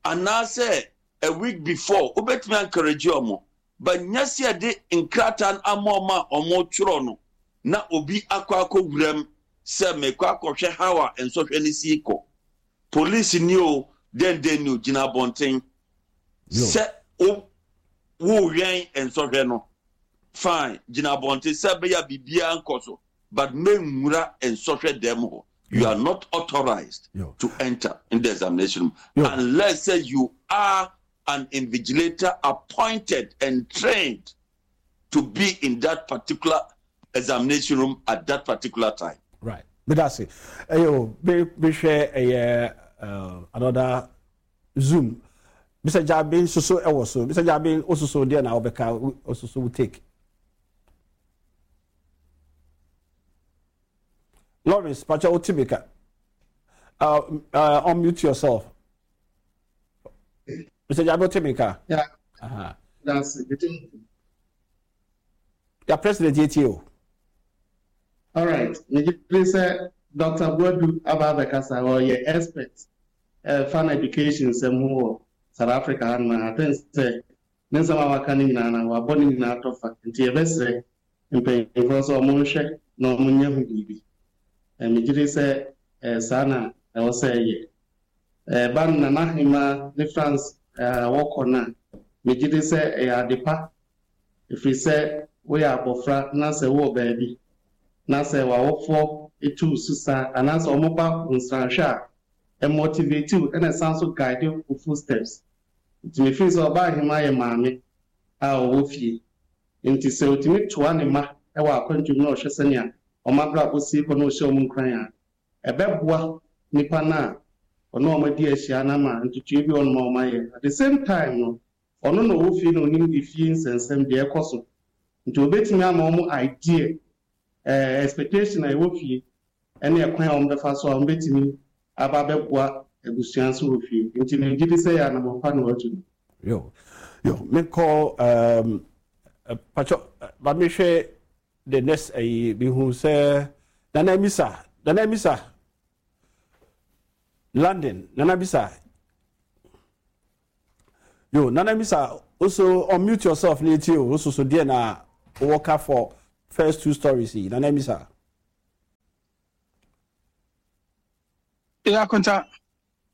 [SPEAKER 10] anaasɛ a week before wobɛtumi encourage ɔmo, but nyɛ sɛ yɛde nkrataa no ama ɔmo a ɔmo twerɛ no na obi akɔ akɔ wuram sɛ mekɔ akɔhwɛ how a nsɔhwɛ no si kɔ. Police ni o, dɛn dɛn ni o, gyina abɔnten sɛ wo wowɛn nsɔhwɛ no. Fine, gyina abɔnten sɛ ɛbɛyɛ a biribiara nkɔ so, but mɛnwura nsɔhwɛ dɛm hɔ. You are not authorized to enter in the examination room unless sɛ you are an invigilator appointed and trained to be in that particular examination room at that particular time.
[SPEAKER 7] Right. Meda ase. Ɛyɛ o, mehwɛ ɛyɛ another Zoom. Mr. Jabe nso so ɛwɔ so. Mr. Jabe ososo deɛ na ɔbɛka ososo wo take. Lawrence, pacha wo ti meka. Unmute yourself. Mr. Jabe wo ti meka.
[SPEAKER 12] Yeah. Uh-huh. That's it.
[SPEAKER 7] Ya president yɛ tie o.
[SPEAKER 12] All right. Megye sɛ Dr. Boadu aba abɛkasa ɔyɛ expert ɛfa no education nsɛm ho wɔ South Africa hanom a, I think sɛ ne nsɛm a waka no nyinaa no wabɔ ne nyinaa tɔ fa. Nti yɛbɛsrɛ mpanyinfoɔ sɛ wɔn nhwɛ na wɔn nyɛ ho biribi. Megye di sɛ saa na ɛwɔ sɛ ɛyɛ. Ɛba no Nana Ahemaa ne France a wɔkɔ no a, megye di sɛ ɛyɛ ade pa Ɛfiri sɛ woyɛ abɔfra na sɛ wowɔ baabi na sɛ w'awofoɔ tu wo so sa anaasɛ wɔba wo nsrahwɛ a, ɛmotivate wo ɛna ɛsan nso guide wo footsteps. Nti me feel sɛ Ɔbaahemaa yɛ maame a ɔwɔ fie. Nti sɛ ɔtumi toa ne mma wɔ akwantuo mu na ɔhwɛ sɛnea wɔn abrabɔ si rekɔ na ɔhyɛ wɔn nkuran a, ɛbɛboa nipa no a ɔne wɔn adi ahyia no ama ntotoeɛ bi wɔ hɔnom a wɔayɛ. At the same time no, Ɔno na ɔwɔ fie na ɔnim efie nsɛnsɛm deɛ ɛkɔ so nti ɔbɛtumi ama wɔn idea, eh, expectation a ɛwɔ fie ɛne ɛkwan a wɔbɛfa so a wɔbɛtumi aba abɛboa abusua nso wɔ fie. Nti megye di sɛ ɛyɛ anamɔn pa na watu no.
[SPEAKER 7] Yo, yo, menkɔ um, pacho, ma mehwɛ the next ayi, mehu sɛ Nana Misa, Nana Misa, London, Nana Bisa, Yo, Nana Misa, also unmute yourself na etie o, so so deɛ na wowɔ ka for first two stories yi, Nana Misa.
[SPEAKER 13] Yeah, Akonta.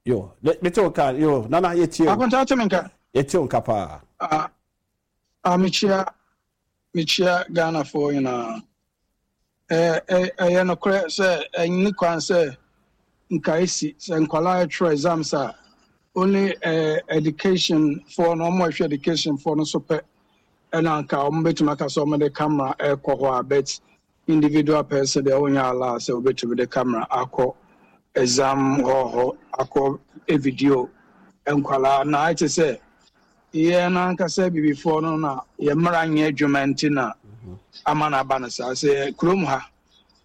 [SPEAKER 7] Yo, mete wo ka, yo, Nana yɛtie o.
[SPEAKER 13] Akonta, wote me nka?
[SPEAKER 7] Yɛtie wo nka paa.
[SPEAKER 13] Ah, ah, mekyia, mekyia Ghanafoɔ nyinaa. Ɛyɛ nokorɛ sɛ ɛnni kwan sɛ nka esi sɛ nkwadaa ɛtwerɛ exams a only education foɔ no wɔn a ɛhwɛ education foɔ no so pɛ ɛna nka wɔn bɛtumi aka sɛ wɔn de camera ɛkɔ hɔ a but individual person deɛ wɔnyɛ allow sɛ wɔbɛtumi de camera akɔ exam hall hɔ akɔ video nkwadaa na ayɛ te sɛ Yɛn ankasa abibifoɔ no na yɛn mmara nyɛ adwuma nti na ama no aba no saa. Sɛ kurom ha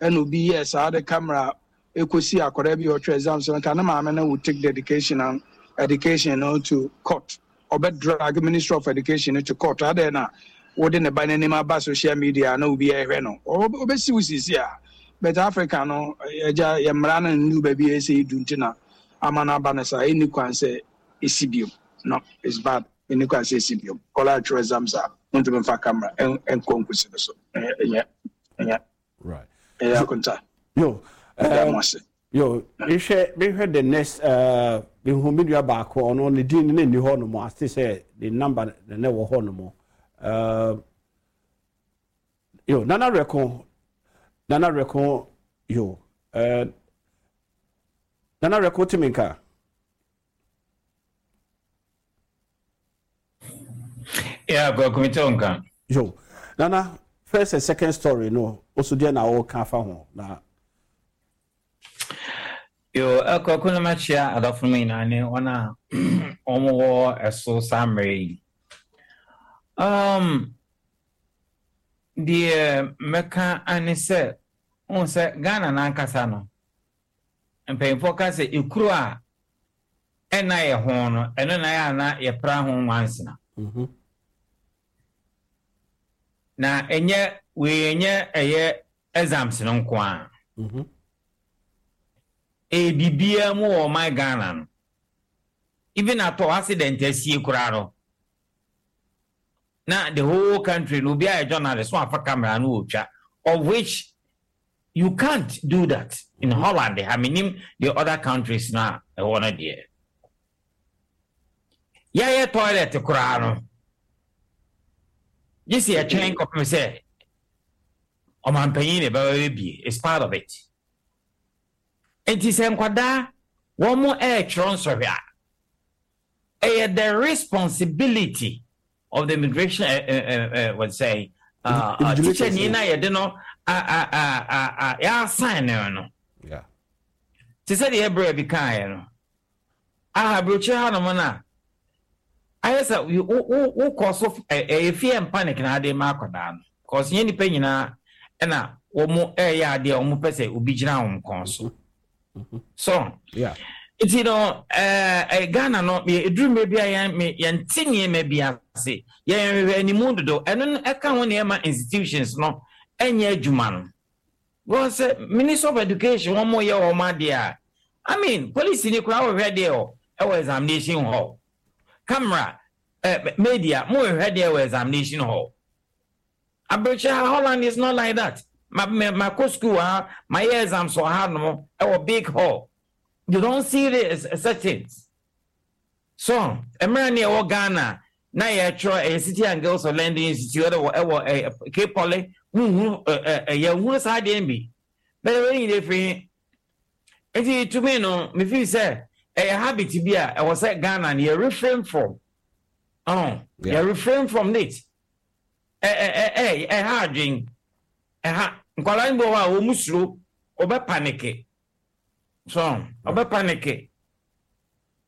[SPEAKER 13] ɛna obi yɛɛ saa de camera ɛkɔsi akwadaa bi a ɔtwerɛ exams no nka ne maame no will take the education and education no to court. ɔbɛ drag Ministry of Education no to court. Adɛn na wode ne ba no anim aba social media na obi ɛhwɛ no? Ɔbɛsi wo sisi a. But Africa no, agya, yɛ mmara no nnu baabi a ɛsɛ edu nti na ama no aba no saa. Ɛnni kwan sɛ ɛsi biom. No, it's bad. Ɛnni kwan sɛ ɛsi biom. Kɔla atwerɛ exams a, wontumi mfa camera nkɔ nkosi no so. Ɛnyɛ, ɛnyɛ.
[SPEAKER 7] Right.
[SPEAKER 13] Ɛyɛ akonta.
[SPEAKER 7] Yo.
[SPEAKER 13] Ɛda mo ase.
[SPEAKER 7] Yo, mehwɛ mehwɛ the next uh, mehu me nua baako ɔno ne din ne nni hɔ nom ase sɛ ne number na na ɛwɔ hɔ nom. Uh, yo, Nana Reko, Nana Reko, yo, uh, Nana Reko timi nka.
[SPEAKER 14] Yeah, Kwaku me te wo nka.
[SPEAKER 7] Yo, Nana, first and second story no, oso deɛ na ɔka afa ho na.
[SPEAKER 14] Yo, eh, Kwaku na makyia adɔfo no nyinaa ne wɔn a wɔn wɔ ɛso saa mmerɛ yi. Um, deɛ mɛka ane sɛ, wohu sɛ Ghana n'ankasa no, mpanyinfoɔ ka sɛ ekuro a ɛnna yɛ ho no, ɛno na ɛyɛ a na yɛpra ho nwansena.
[SPEAKER 7] Mhm.
[SPEAKER 14] Na ɛnyɛ wei ɛnyɛ ɛyɛ exams no nko ara.
[SPEAKER 7] Mhm.
[SPEAKER 14] Ɛyɛ biribiara mu wɔ ɔman Ghana no. Even atɔ accident asie koraa no, na the whole country no obi ayɛ journalist so afa camera no ɔretwa of which You can't do that in Holland ha menim the other countries no a ɛwɔ no deɛ. Yɛayɛ toilet koraa no gye sɛ yɛtwɛn kɔpem sɛ ɔmanpanyin na ɛbɛba bɛbie it's part of it. Nti sɛ nkwadaa wɔn ɛretwerɛ nsɔhwɛ a ɛyɛ the responsibility of the immigration eh, eh, eh, eh, what say uh, uh, teacher ni na yɛde no yɛasan no no te sɛ deɛ ɛbrɛ bi kaeɛ no aha aburokyire hanom no a ayɛ sɛ wokɔ so ɛyɛ fear and panic na ade ma akwadaa no cause nyɛ nipa nyinaa ɛna wɔn ɛyɛ adeɛ a wɔn pɛ sɛ obi gyina wɔn kɔn so So nti no ɛɛ Ghana no eduru mmerɛ bi a yɛn yɛnte nneɛma bi ase yɛn hwehwɛ animu dodo ɛno no ɛka ho nneɛma institutions no ɛnyɛ adwuma no because sɛ Ministry of Education wɔn yɛ wɔn adeɛ a I mean police ni koraa wɔhwɛ deɛ wɔ ɛwɔ examination hall camera ɛɛ media mo hwehwɛ deɛ wɔ examination hall. Aberekyɛ ha Holland is not like that. Ma ma makɔ school wɔ ha, mayɛ exams wɔ ha nom ɛwɔ big hall. You don't see this such things. So mmerɛ ne ɛwɔ Ghana na yɛtwerɛ ɛyɛ City and Guilds of London Institute ɛwɔ ɛwɔ ɛyɛ Cape Poly muhunu ɛ ɛ yɛnhunu saa adeɛ no bi. Bɛyɛ wei nyina efiri he. Nti to me no me feel sɛ ɛyɛ habit bi a ɛwɔ sɛ Ghana no yɛ refrain from. Oh, yɛ refrain from it. Ɛ ɛ ɛ ɛha adwen. Ɛha. Nkwadaa no bi wɔ hɔ a wɔn suro. Wɔbɛ panike. So wɔbɛ panike.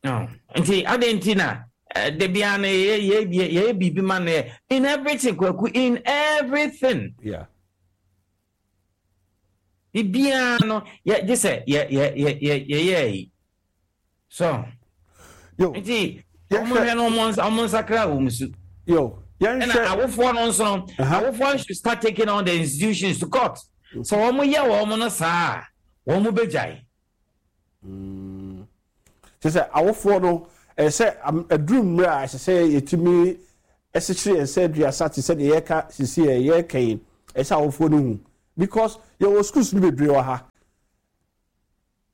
[SPEAKER 14] No. Nti adɛn nti na da biara no yɛ yɛ yɛ biribi ma no yɛ in everything kwaku in everything.
[SPEAKER 7] Yeah.
[SPEAKER 14] Biribiara no yɛ gye sɛ yɛ yɛ yɛ yɛ yɛyɛ yi. So.
[SPEAKER 7] Yo.
[SPEAKER 14] Nti wɔn hwɛ no wɔn nsa wɔn nsakra wɔn su.
[SPEAKER 7] Yo. Yɛn
[SPEAKER 14] hwɛ. Ɛna awofoɔ no nso no awofoɔ no should start taking on the institutions to court. So wɔn yɛ wɔn no saa wɔn bɛ gyae.
[SPEAKER 7] Mm. Kyerɛ sɛ awofoɔ no ɛsɛ sɛ aduru mmerɛ a ɛsɛ sɛ yɛtumi ɛsekyere yɛn sɛ aduasa te sɛ deɛ yɛka sisi yɛ yɛka yi ɛsɛ awofoɔ no hu because yɛwɔ schools no bebree wɔ ha.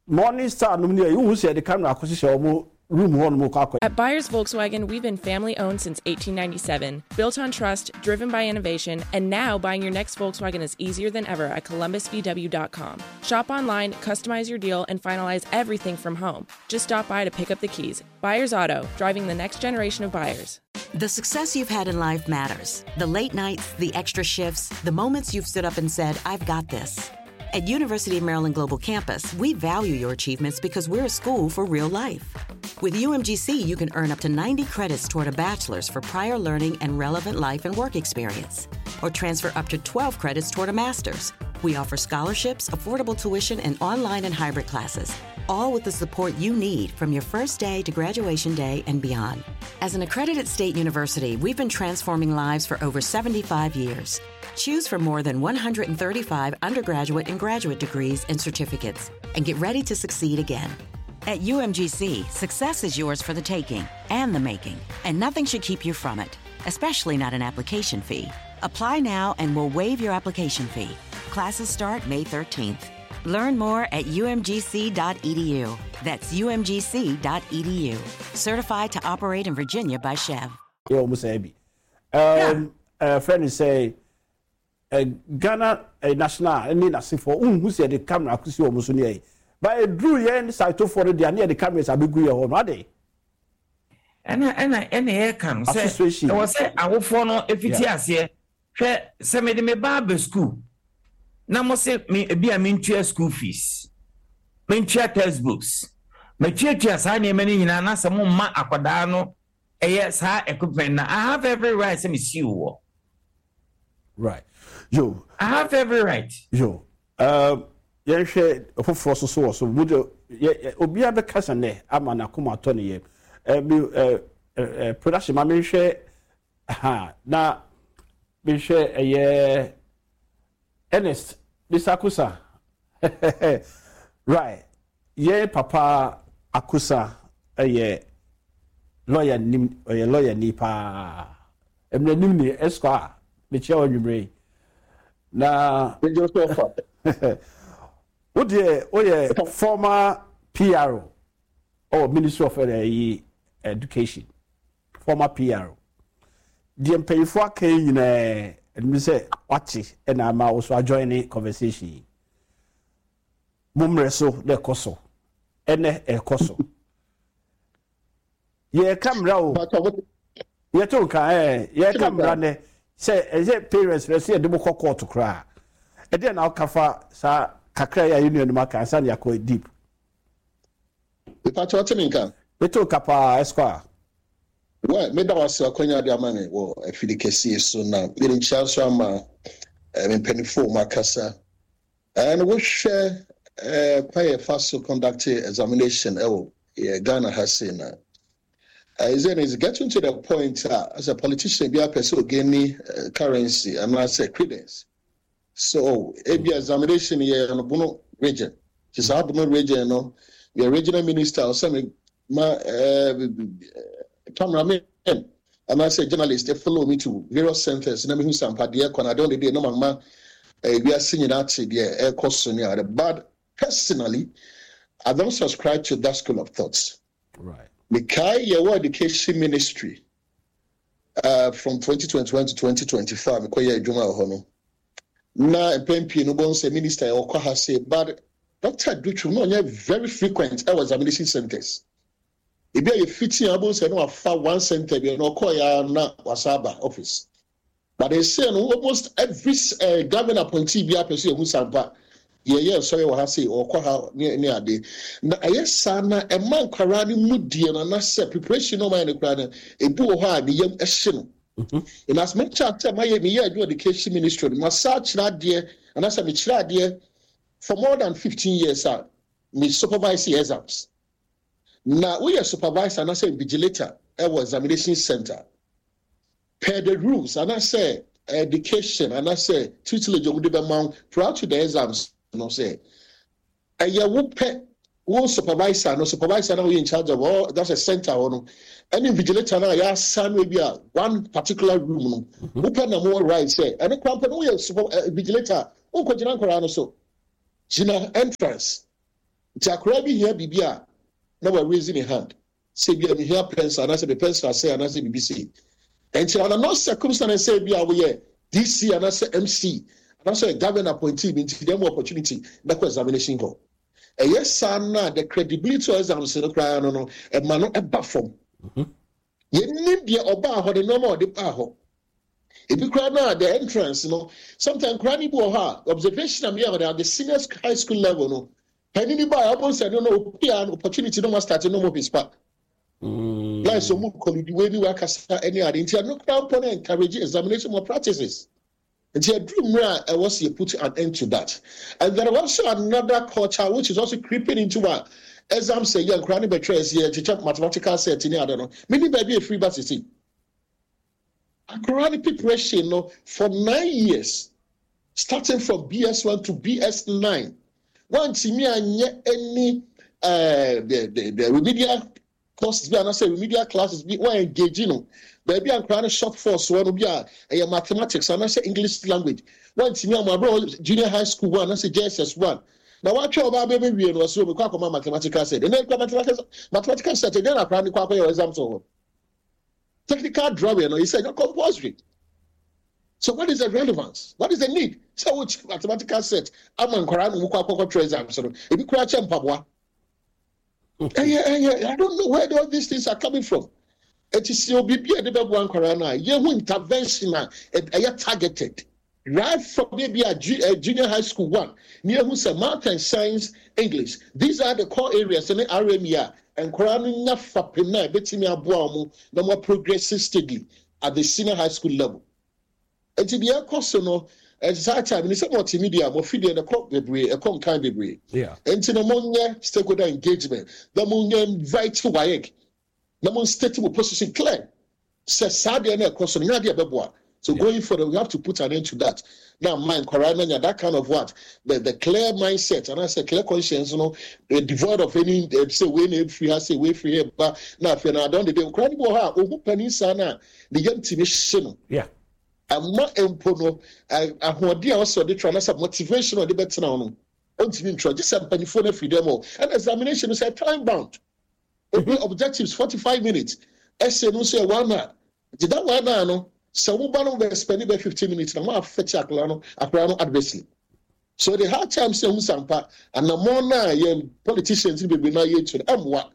[SPEAKER 7] Morning star nom ni a wohu sɛ yɛde camera akɔhyehyɛ wɔn room hɔ nom kɔ akɔ.
[SPEAKER 15] At Buyers Volkswagen, we've been family owned since 1897, built on trust, driven by innovation, and now buying your next Volkswagen is easier than ever at columbusvw.com. Shop online, customize your deal, and finalize everything from home. Just stop by to pick up the keys. Buyers Auto, driving the next generation of buyers.
[SPEAKER 11] The success you've had in life matters. The late nights, the extra shifts, the moments you've stood up and said, I've got this. At University of Maryland Global Campus, we value your achievements because we're a school for real life. With UMGC, you can earn up to 90 credits toward a bachelor's for prior learning and relevant life and work experience, or transfer up to 12 credits toward a master's. We offer scholarships, affordable tuition, and online and hybrid classes, all with the support you need from your first day to graduation day and beyond. As an accredited state university, we've been transforming lives for over 75 years. Choose from more than 135 undergraduate and graduate degrees and certificates and get ready to succeed again. At UMGC, success is yours for the taking and the making, and nothing should keep you from it, especially not an application fee. Apply now and we'll waive your application fee. Classes start May 13th. Learn more at umgc.edu. That's umgc.edu. Certified to operate in Virginia by Chev.
[SPEAKER 7] Yeah, almost Um, uh, friend is say, uh, Ghana uh, national ne n'asefoɔ nhu sɛ yɛde camera akosi wɔn so ne yɛ ba eduru yɛn saitofoɔ no deɛ ne yɛde cameras abegu yɛ hɔ no ade.
[SPEAKER 14] Ɛna ɛna ɛna yɛka no sɛ ɛwɔ sɛ awofoɔ no efiti aseɛ hwɛ sɛ mede me ba aba sukuu na mo se me ebi a mentua school fees mentua textbooks matuatua saa nneɛma no nyinaa na sɛ mo mma akwadaa no ɛyɛ saa equipment na I have every right sɛ me siw wɔ.
[SPEAKER 7] Right. Yo.
[SPEAKER 14] I have every right.
[SPEAKER 7] Yo. Um, yɛnhwɛ foforɔ so so wɔ so mu de yɛ obiara bɛkasa nɛ ama n'akoma atɔ ne yam ɛɛ ɛɛ ɛɛ production ma menhwɛ ha na menhwɛ ɛyɛ Ernest Mr. Akusa right yɛn papa Akusa ɛyɛ lawyer nim ɔyɛ lawyer ni paa mmerɛ nim ni esquire mekyia wɔ anwummerɛ yi na wo deɛ woyɛ former PRO ɔwɔ Ministry of ɛyi Education former PRO deɛ mpanyinfoɔ aka yi nyinaa ɛnum sɛ wate ɛna ama wo so ajoin ne conversation yi mo mmerɛ so na ɛkɔ so ɛnɛ ɛkɔ so yɛka mmara o yɛto nka ɛɛ yɛka mmara nɛ sɛ ɛsɛ parents rɛ sɛ yɛde mo kɔ court koraa ɛdeɛ na ɔka fa saa kakra yi a yɛn nuanom aka ansa na yɛakɔ deep.
[SPEAKER 16] Mepakyɛ ɔte me nka?
[SPEAKER 7] Meto nka paa Esquire.
[SPEAKER 16] Well, meda wo ase akwanya de ama me wɔ afidi kɛseɛ so na mede nkyia nso ama eh, me mpanimfoɔ mu akasa. And wohwɛ eh, kwan yɛfa so conduct examination ɛwɔ yɛ Ghana ha sei na is it is getting to the point a as a politician bi apɛ sɛ ogeni currency anaasɛ credence. So ebia examination yɛ no Bono region. Nti saa Bono region no, yɛ regional minister ɔsɛ me ma cameraman anaasɛ journalist follow me to various centers na mehu sampa deɛ ɛkɔ na adeɛ ɔde deɛ na mama wiase nyinaa te deɛ ɛkɔ so ne ade. But personally, I don't subscribe to that school of thoughts.
[SPEAKER 7] Right.
[SPEAKER 16] Mekae yɛwɔ education ministry uh, from 2021 to 2025 mekɔyɛ adwuma wɔ hɔ no na mpɛn pii no bɔn sɛ minister yɛ ɔkɔ ha se but Dr. Adutwum na ɔnyɛ very frequent ɛwɔ examination centers ebi a yɛfiti a bɔn sɛ na wafa one center bi na ɔkɔɔ ya na wasa aba office. But they say no almost every eh, government appointee biara pɛ sɛ yɛhu sampa yɛyɛ nsɔre wɔ ha sei ɔkɔ ha ne ne ade na ɛyɛ saa na ɛma nkwaraa no mu deɛ no anasɛ preparation no ɔmayɛ no koraa no ebi wɔ hɔ a ne yam ɛhye no mhm. in as much as sɛ mayɛ meyɛ adwuma education ministry no masa akyerɛ adeɛ anasɛ mekyerɛ adeɛ for more than 15 years a me supervise exams na woyɛ supervisor anasɛ invigilator ɛwɔ examination center Per the rules anaasɛ education anaasɛ tutelage a wɔde bɛma wo prior to the exams no sɛ ɛyɛ wo pɛ wo supervisor no supervisor no a woyɛ in charge of all that's a center hɔ no ɛne invigilator no a yɛasa no ebi a one particular room no mhm. wo pɛ na mo right sɛ ɛno koraa mpɛ no woyɛ super eh, invigilator a wonkɔgyina nkwaraa no so gyina entrance nti akwaraa bi hia biribi a na wa raise ne hand sɛ ebia mehia pencil anaasɛ me pencil asɛe anaasɛ biribi sei. Nti under no circumstance sɛ ebia woyɛ DC anaasɛ MC anaasɛ government appointee bi nti deɛ mo opportunity bɛkɔ examination hall. Ɛyɛ saa no a the credibility of exams no koraa no no ɛma no ɛba fam. Mhm. Yɛnnim deɛ ɔbaa hɔ ne nneɛma a ɔde baa hɔ. Ebi koraa no a the entrance no sometimes koraa no bi wɔ hɔ a observation a meyɛ wɔ the senior high school level no Panin bi baeɛ ɔbɔ nsɛ no na ɔpia no opportunity no ma start no mo his pa. Mm. Like so mo kɔlidi wei ni wakasa ɛne ade nti ɛno koraa mpo na encourage examination more practices. Nti aduru mmerɛ a ɛwɔ sɛ yɛ put an end to that. And there is also another culture which is also creeping into our exam sɛ yɛ nkwadaa no bɛtwerɛ sɛ yɛkyekyɛ mathematical set ne ade no. Menim baabi a ɛfiri ba sisi. Akwadaa no preparation no for 9 years, starting from BS1 to BS9, wantumi anyɛ any the remedial courses bi anaasɛ remedial classes bi wɔn engage no baabi a nkwadaa no short force wɔ no bi a ɛyɛ mathematics anaasɛ English language, wantumi ama abirɛ junior high school one anaasɛ JSS one na watwa ɔbaa bɛbɛ wie no, ɔsɛ omi kɔ akɔma mathematical set. Ɛnna ekura mathematical set ɛdɛn na akwadaa no kɔ akɔyɛ exam so hɔ? Technical drawing no, he said not compulsory. So what is the relevance? What is the need sɛ o kyi mathematical set ama nkwadaa no mu kɔ akɔkɔ twerɛ exams no? Ebi kura kyɛ mpaboa. Ɛyɛ I don't know where all these things are coming from. Eti si obi bi a yɛde bɛboa nkwadaa no a, yɛhu intervention a ɛyɛ targeted right from maybe a junior high school one ni ehu sɛ math and science, English, these are the core areas ne RME a nkwadaa no nya fapem na ebetumi aboa wɔn na wɔn progress steadily at the senior high school level. Eti deɛ ɛkɔ so no, ɛte saa time ni sɛ multimedia mo fidie no ɛkɔ bebree, ɛkɔ nkan bebree. Nti no mo nyɛ stakeholder engagement na mo nyɛ invite WAEC na mo state mo position clear sɛ saa deɛ no ɛkɔ so no nyɛ adeɛ ɛbɛboa. So going forward, we have to put an end to that na mind nkwaraa no anya that kind of what, the clear mindset and I say clear conscience no, devoid of any say wei na efiri ha, say wei firi ha ba na afei na adɔn dede nkwaraa no bi wɔ hɔ a ohun panin saa na ne yam tumi hye no ama mpo no ahoɔden a ɔsɛ ɔde tra na sɛ motivation a ɔde bɛtena hɔ no, ɔntumi ntwerɛ gye sɛ mpanimfoɔ no afiri dɛm hɔ. Ɛna examination no sɛ time bound, ebi objectives 45 minutes, essay no nso yɛ one hour. Nti that one hour no, sɛ wo ba no bɛ spend bɛ 15 minutes na mo affect akwadaa no adversely. So the hard time sɛ ehu sampa anammɔn na yɛn politicians no bebree na yɛtu no ɛmmoa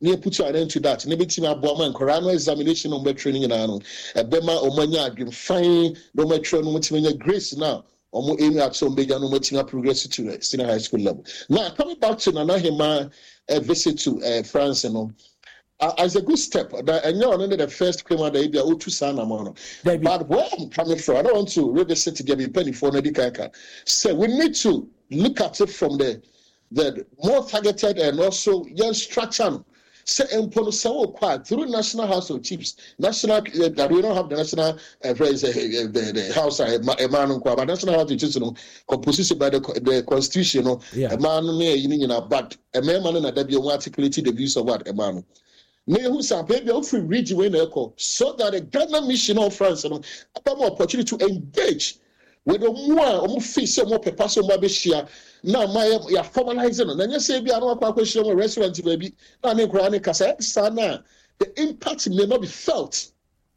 [SPEAKER 16] na yɛ put an end to that na ebɛtumi aboa ma nkwadaa no examination na wɔn bɛtwerɛ no nyinaa no, ɛbɛma wɔn anya adwemfan na wɔn atwerɛ no, wɔn atumi anya grace na wɔn aim at sɛ wɔn bɛnya no, wɔn atumi aprogress to the senior high school level. Now coming back to Nana Hema visit to France no, as a good step na ɛnyɛ ɔno ne the first kwema da ebi a otu saa nam no, but where I'm coming from, I don't want to revisit deɛ mi mpanyinfoɔ no adi kan ka sɛ we need to look at it from the more targeted and also yɛn structure no sɛ mpo no sɛ wokɔ a through National House of Chiefs, national we don't have the national the house a ɛmaa no nko, but National House of Chiefs no composition by the constitution no, ɛmaa no ne ɛyi no nyinaa, but mmarima no na dabi wɔn articulate the views of what ɛmaa no na ehu sɛ apɛ bi a wofiri region wei na ɛkɔ, so that the Ghana mission of France no ɛbɛma opportunity to engage with ɔmo a ɔmo fi sɛ ɔmo pɛpa sɛ ɔmo abɛhyia na ama yɛ yɛ formalize no, na nyɛ sɛ ebi a na wakɔ akɔhyia mu restaurant baabi na ne nkwaraa ne kasa ɛsa na the impact may not be felt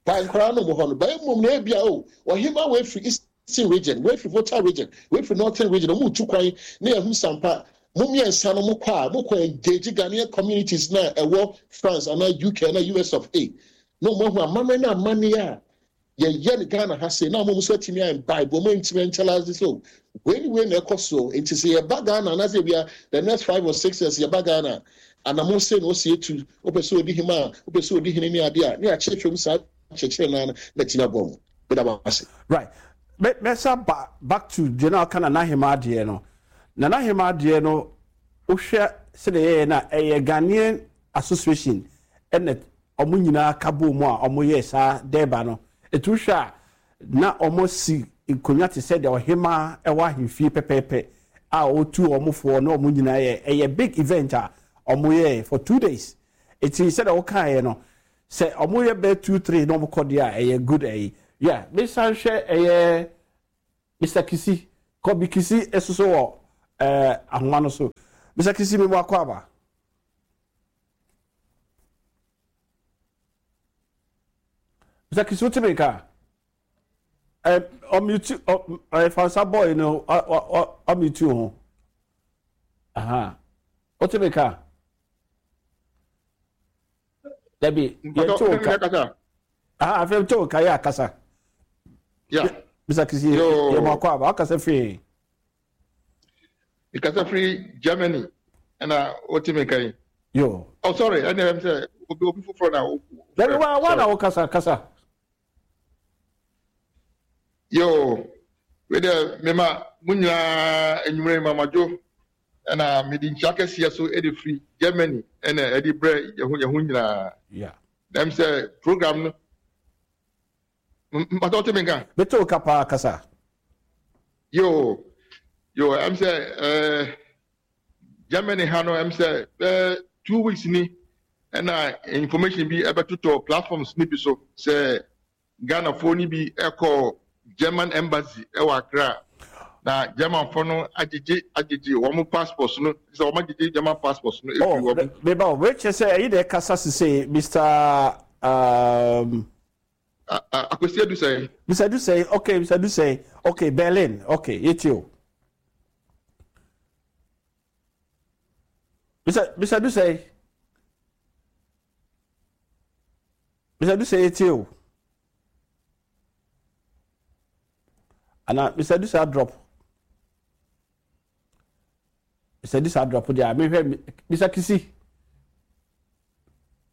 [SPEAKER 16] by nkwaraa no mo hɔ no bɛyɛ mom na ebi a o ɔhema wɔ efiri Eastern Region, wɔ efiri Volta Region, wɔ efiri Northern Region, ɔmo tu kwan na yɛhu sampa mo mmiɛnsa no mo kɔ a mo kɔ engage Ghanaian communities na ɛwɔ France anaa UK anaa US of A na ɔmo ahu amammerɛ ne amanneɛ a yɛyɛ no Ghana ha sei, na ɔmo nso atumi ayɛ imbibe, ɔmo ntumi nkyɛlase so wei ne wei na ɛkɔ so. Nti sɛ yɛba Ghana anaasɛ ebia the next 5 or 6 years yɛba Ghana, anamo sei na ɔsi etu wopɛ sɛ odi hema a wopɛ sɛ odi hene ne adeɛ a ne akyerɛkyerɛ mu saa kyerɛkyerɛ naa no na tumi aboa mu. Bɛda mo ase.
[SPEAKER 7] Right, mɛsa ba back to deɛ na ɔka Nana Hema adeɛ no. Nana Hema adeɛ no, wohwɛ sɛdeɛ yɛyɛ no a, ɛyɛ Ghanaian Association ɛna ɔmo nyinaa ka bɔ mu a ɔmo yɛ saa dɛɛba no. Etu hwɛ a, na ɔmo si nkonnwa te sɛ deɛ ɔhema ɛwɔ ahemfie pɛpɛɛpɛ a ɔtu ɔmo foɔ na ɔmo nyinaa yɛ. Ɛyɛ big event a ɔmo yɛ for 2 days. Eti sɛdeɛ ɔkaeɛ no, sɛ ɔmo yɛ bɛɛ two three na ɔmo kɔ deɛ a, ɛyɛ good. Ɛyi yeah, mesan hwɛ ɛyɛ Mr Kisi Kɔbi Kisi esoso wɔ ahoma no so. Mr Kisi, mi mu akɔ aba. Mr Kisi, wote mi nka? Ɔmute ɔ ɛ fansa boy no ɔ ɔmute ho. Aha, wote mi nka? Dabi, yɛn to nka. Aha, afei to nka yɛ akasa. Mr Kisi, yɛ mo akɔ aba, wakasa firi.
[SPEAKER 17] Mekasa firi Germany ɛna wote me nka yi.
[SPEAKER 7] Yo.
[SPEAKER 17] Oh sorry, ɛna ɛm sɛ obi foforɔ na.
[SPEAKER 7] Dabi, wa na wo kasa kasa.
[SPEAKER 17] Yo. Wei deɛ mema mo nyinaa anwummerɛ yi mamadwo ɛna mede nkyia kɛseɛ so de firi Germany ɛna ɛde brɛ yɛn ho yɛn ho nyinaa.
[SPEAKER 7] Yeah.
[SPEAKER 17] Na ɛm sɛ program no mpatɔ wote me nka?
[SPEAKER 7] Mete wo ka paa kasa.
[SPEAKER 17] Yo yo ɛm sɛ ɛɛ Germany ha no ɛm sɛ bɛɛ 2 weeks ni ɛna information bi ɛbɛtotɔ platforms ni bi so sɛ Ghanafoɔ no bi kɔɔ German Embassy wɔ Accra, na Germanfoɔ no agyegye agyegye wɔn passports no, sɛ wɔn agyegye German passports no efiri
[SPEAKER 7] oh,
[SPEAKER 17] wɔn.
[SPEAKER 7] Meba o, wei kyerɛ sɛ ɛyi na ɛkasa sese Mr.
[SPEAKER 17] Akwasi Adusɛe.
[SPEAKER 7] Mr. Adusɛe, okay, Mr. Adusɛe, okay, Berlin, okay, yɛtie o. Mr. Adusɛe. Mr. Adusɛ yɛtie o. Ana Mr. Adusɛ adrop. Mr. Adusɛ adrop deɛ a mehwɛ Mr. Kisi.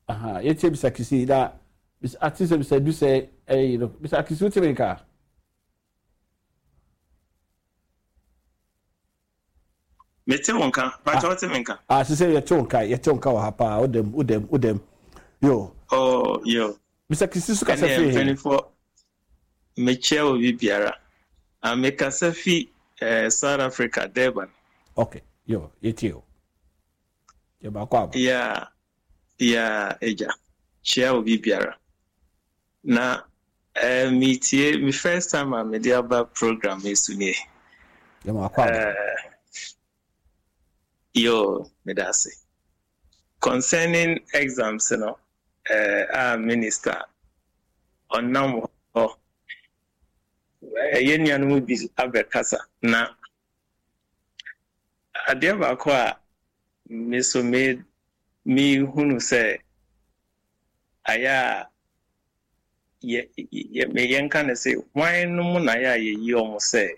[SPEAKER 7] Aha, yɛtie Mr. Kisi na ate sɛ Mr. Adusɛ ɛyi no. Mr. Kisi wote me nka?
[SPEAKER 18] Mete wo nka. Pakyɛ wote me nka?
[SPEAKER 7] Ah, sise yɛte wo nka, yɛte wo nka wɔ ha paa. Wodam, wodam, wodam. Yo.
[SPEAKER 18] Oh, yo.
[SPEAKER 7] Mr. Kisi so kasa
[SPEAKER 18] fi he? Mpanimfoɔ, mekyia obi biara. Ah, mekasa fi eh, South Africa, Durban.
[SPEAKER 7] Okay, yo, yɛtie o. Yɛ baako aba.
[SPEAKER 18] Yeah, yeah, agya. Kyia obi biara. Na eh, metie, me first time a mede aba program yi so nie.
[SPEAKER 7] Yɛma akɔ aba.
[SPEAKER 18] Eh, yo, meda ase. Concerning exams no, eh, a minister ɔnam hɔ, ɛyɛ nuanom bi abɛkasa na adeɛ baako a me so me mehunu sɛ ayɛ a yɛ yɛ yɛnka no sɛ hwan no mu na ayɛ a yɛyi wɔn sɛ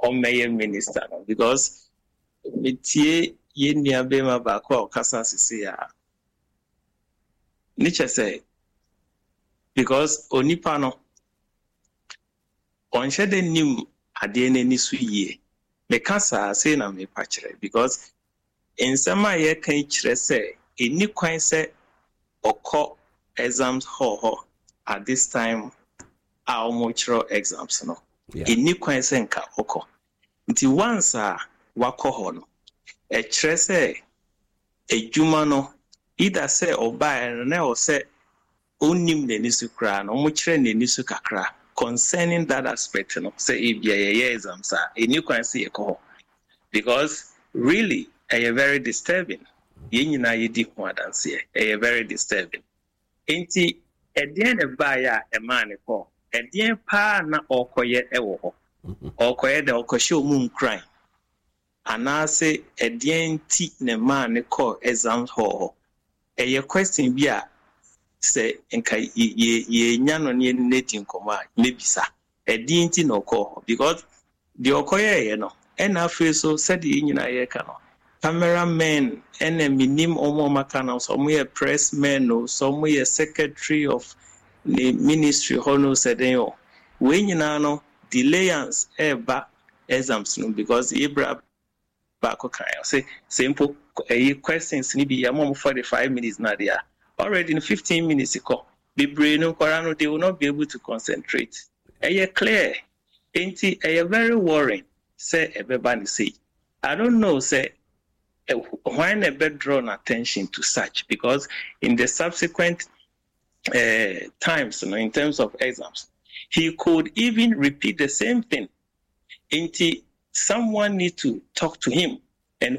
[SPEAKER 18] ɔmmɛyɛ minister no, because metie yɛn nua bɛrima baako a ɔkasa sese a ne kyɛ sɛ because onipa no ɔnhyɛ dɛ nim adeɛ n'ani so yie. Meka saa sei na mepa kyerɛ because nsɛm a yɛka yi kyerɛ sɛ ɛni kwan sɛ ɔkɔ exams hall hɔ at this time a wɔrekyerɛw exams no. Ɛni kwan sɛ nka ɔkɔ. Nti once a wakɔ hɔ no, ɛkyerɛ sɛ adwuma no, either sɛ ɔbaeɛ no na ɛwɔ sɛ ɔnnim n'ani so koraa no, wɔkyerɛ n'ani so kakra concerning that aspect no, sɛ ebia yɛyɛ exams a, ɛni kwan sɛ yɛkɔ hɔ, because really ɛyɛ very disturbing. Yɛn nyinaa yɛdi ho adanseɛ, ɛyɛ very disturbing. Nti ɛdeɛn na ɛbaeɛ a ɛmaa ne kɔɔ? Ɛdeɛn paa na ɔrekɔyɛ ɛwɔ hɔ? Ɔrekɔyɛ dɛ ɔkɔhyɛ ɔmu nkuran anaasɛ ɛdeɛn nti na ɛmaa ne kɔɔ exam hall hɔ? Ɛyɛ question bi a sɛ nka yɛnya no ne yɛne no adi nkɔmmɔ a mɛbisa. Ɛdeɛn nti na ɔkɔɔ hɔ? Because deɛ ɔkɔyɛeɛ no, ɛna afei so sɛdeɛ yɛn nyinaa yɛreka no, camera men ɛna menim ɔmo a ɔmaka no sɛ ɔmo yɛ press men o, sɛ ɔmo yɛ secretary of ne ministry hɔ no, sɛ den o, wei nyinaa no delayance ɛɛba exams no, because yɛbra baako kan ɔsɛ sɛ mpo ɛyi questions ni bi yɛma ɔmo 45 minutes na deɛ already no 15 minutes kɔ bebree no, nkwaraa no, they will not be able to concentrate. Ɛyɛ clear. Nti ɛyɛ very worrying sɛ ɛbɛba ne sei. I don't know sɛ hwan na ɛbɛ draw no attention to such, because in the subsequent times no, in terms of exams, he could even repeat the same thing. Nti someone need to talk to him.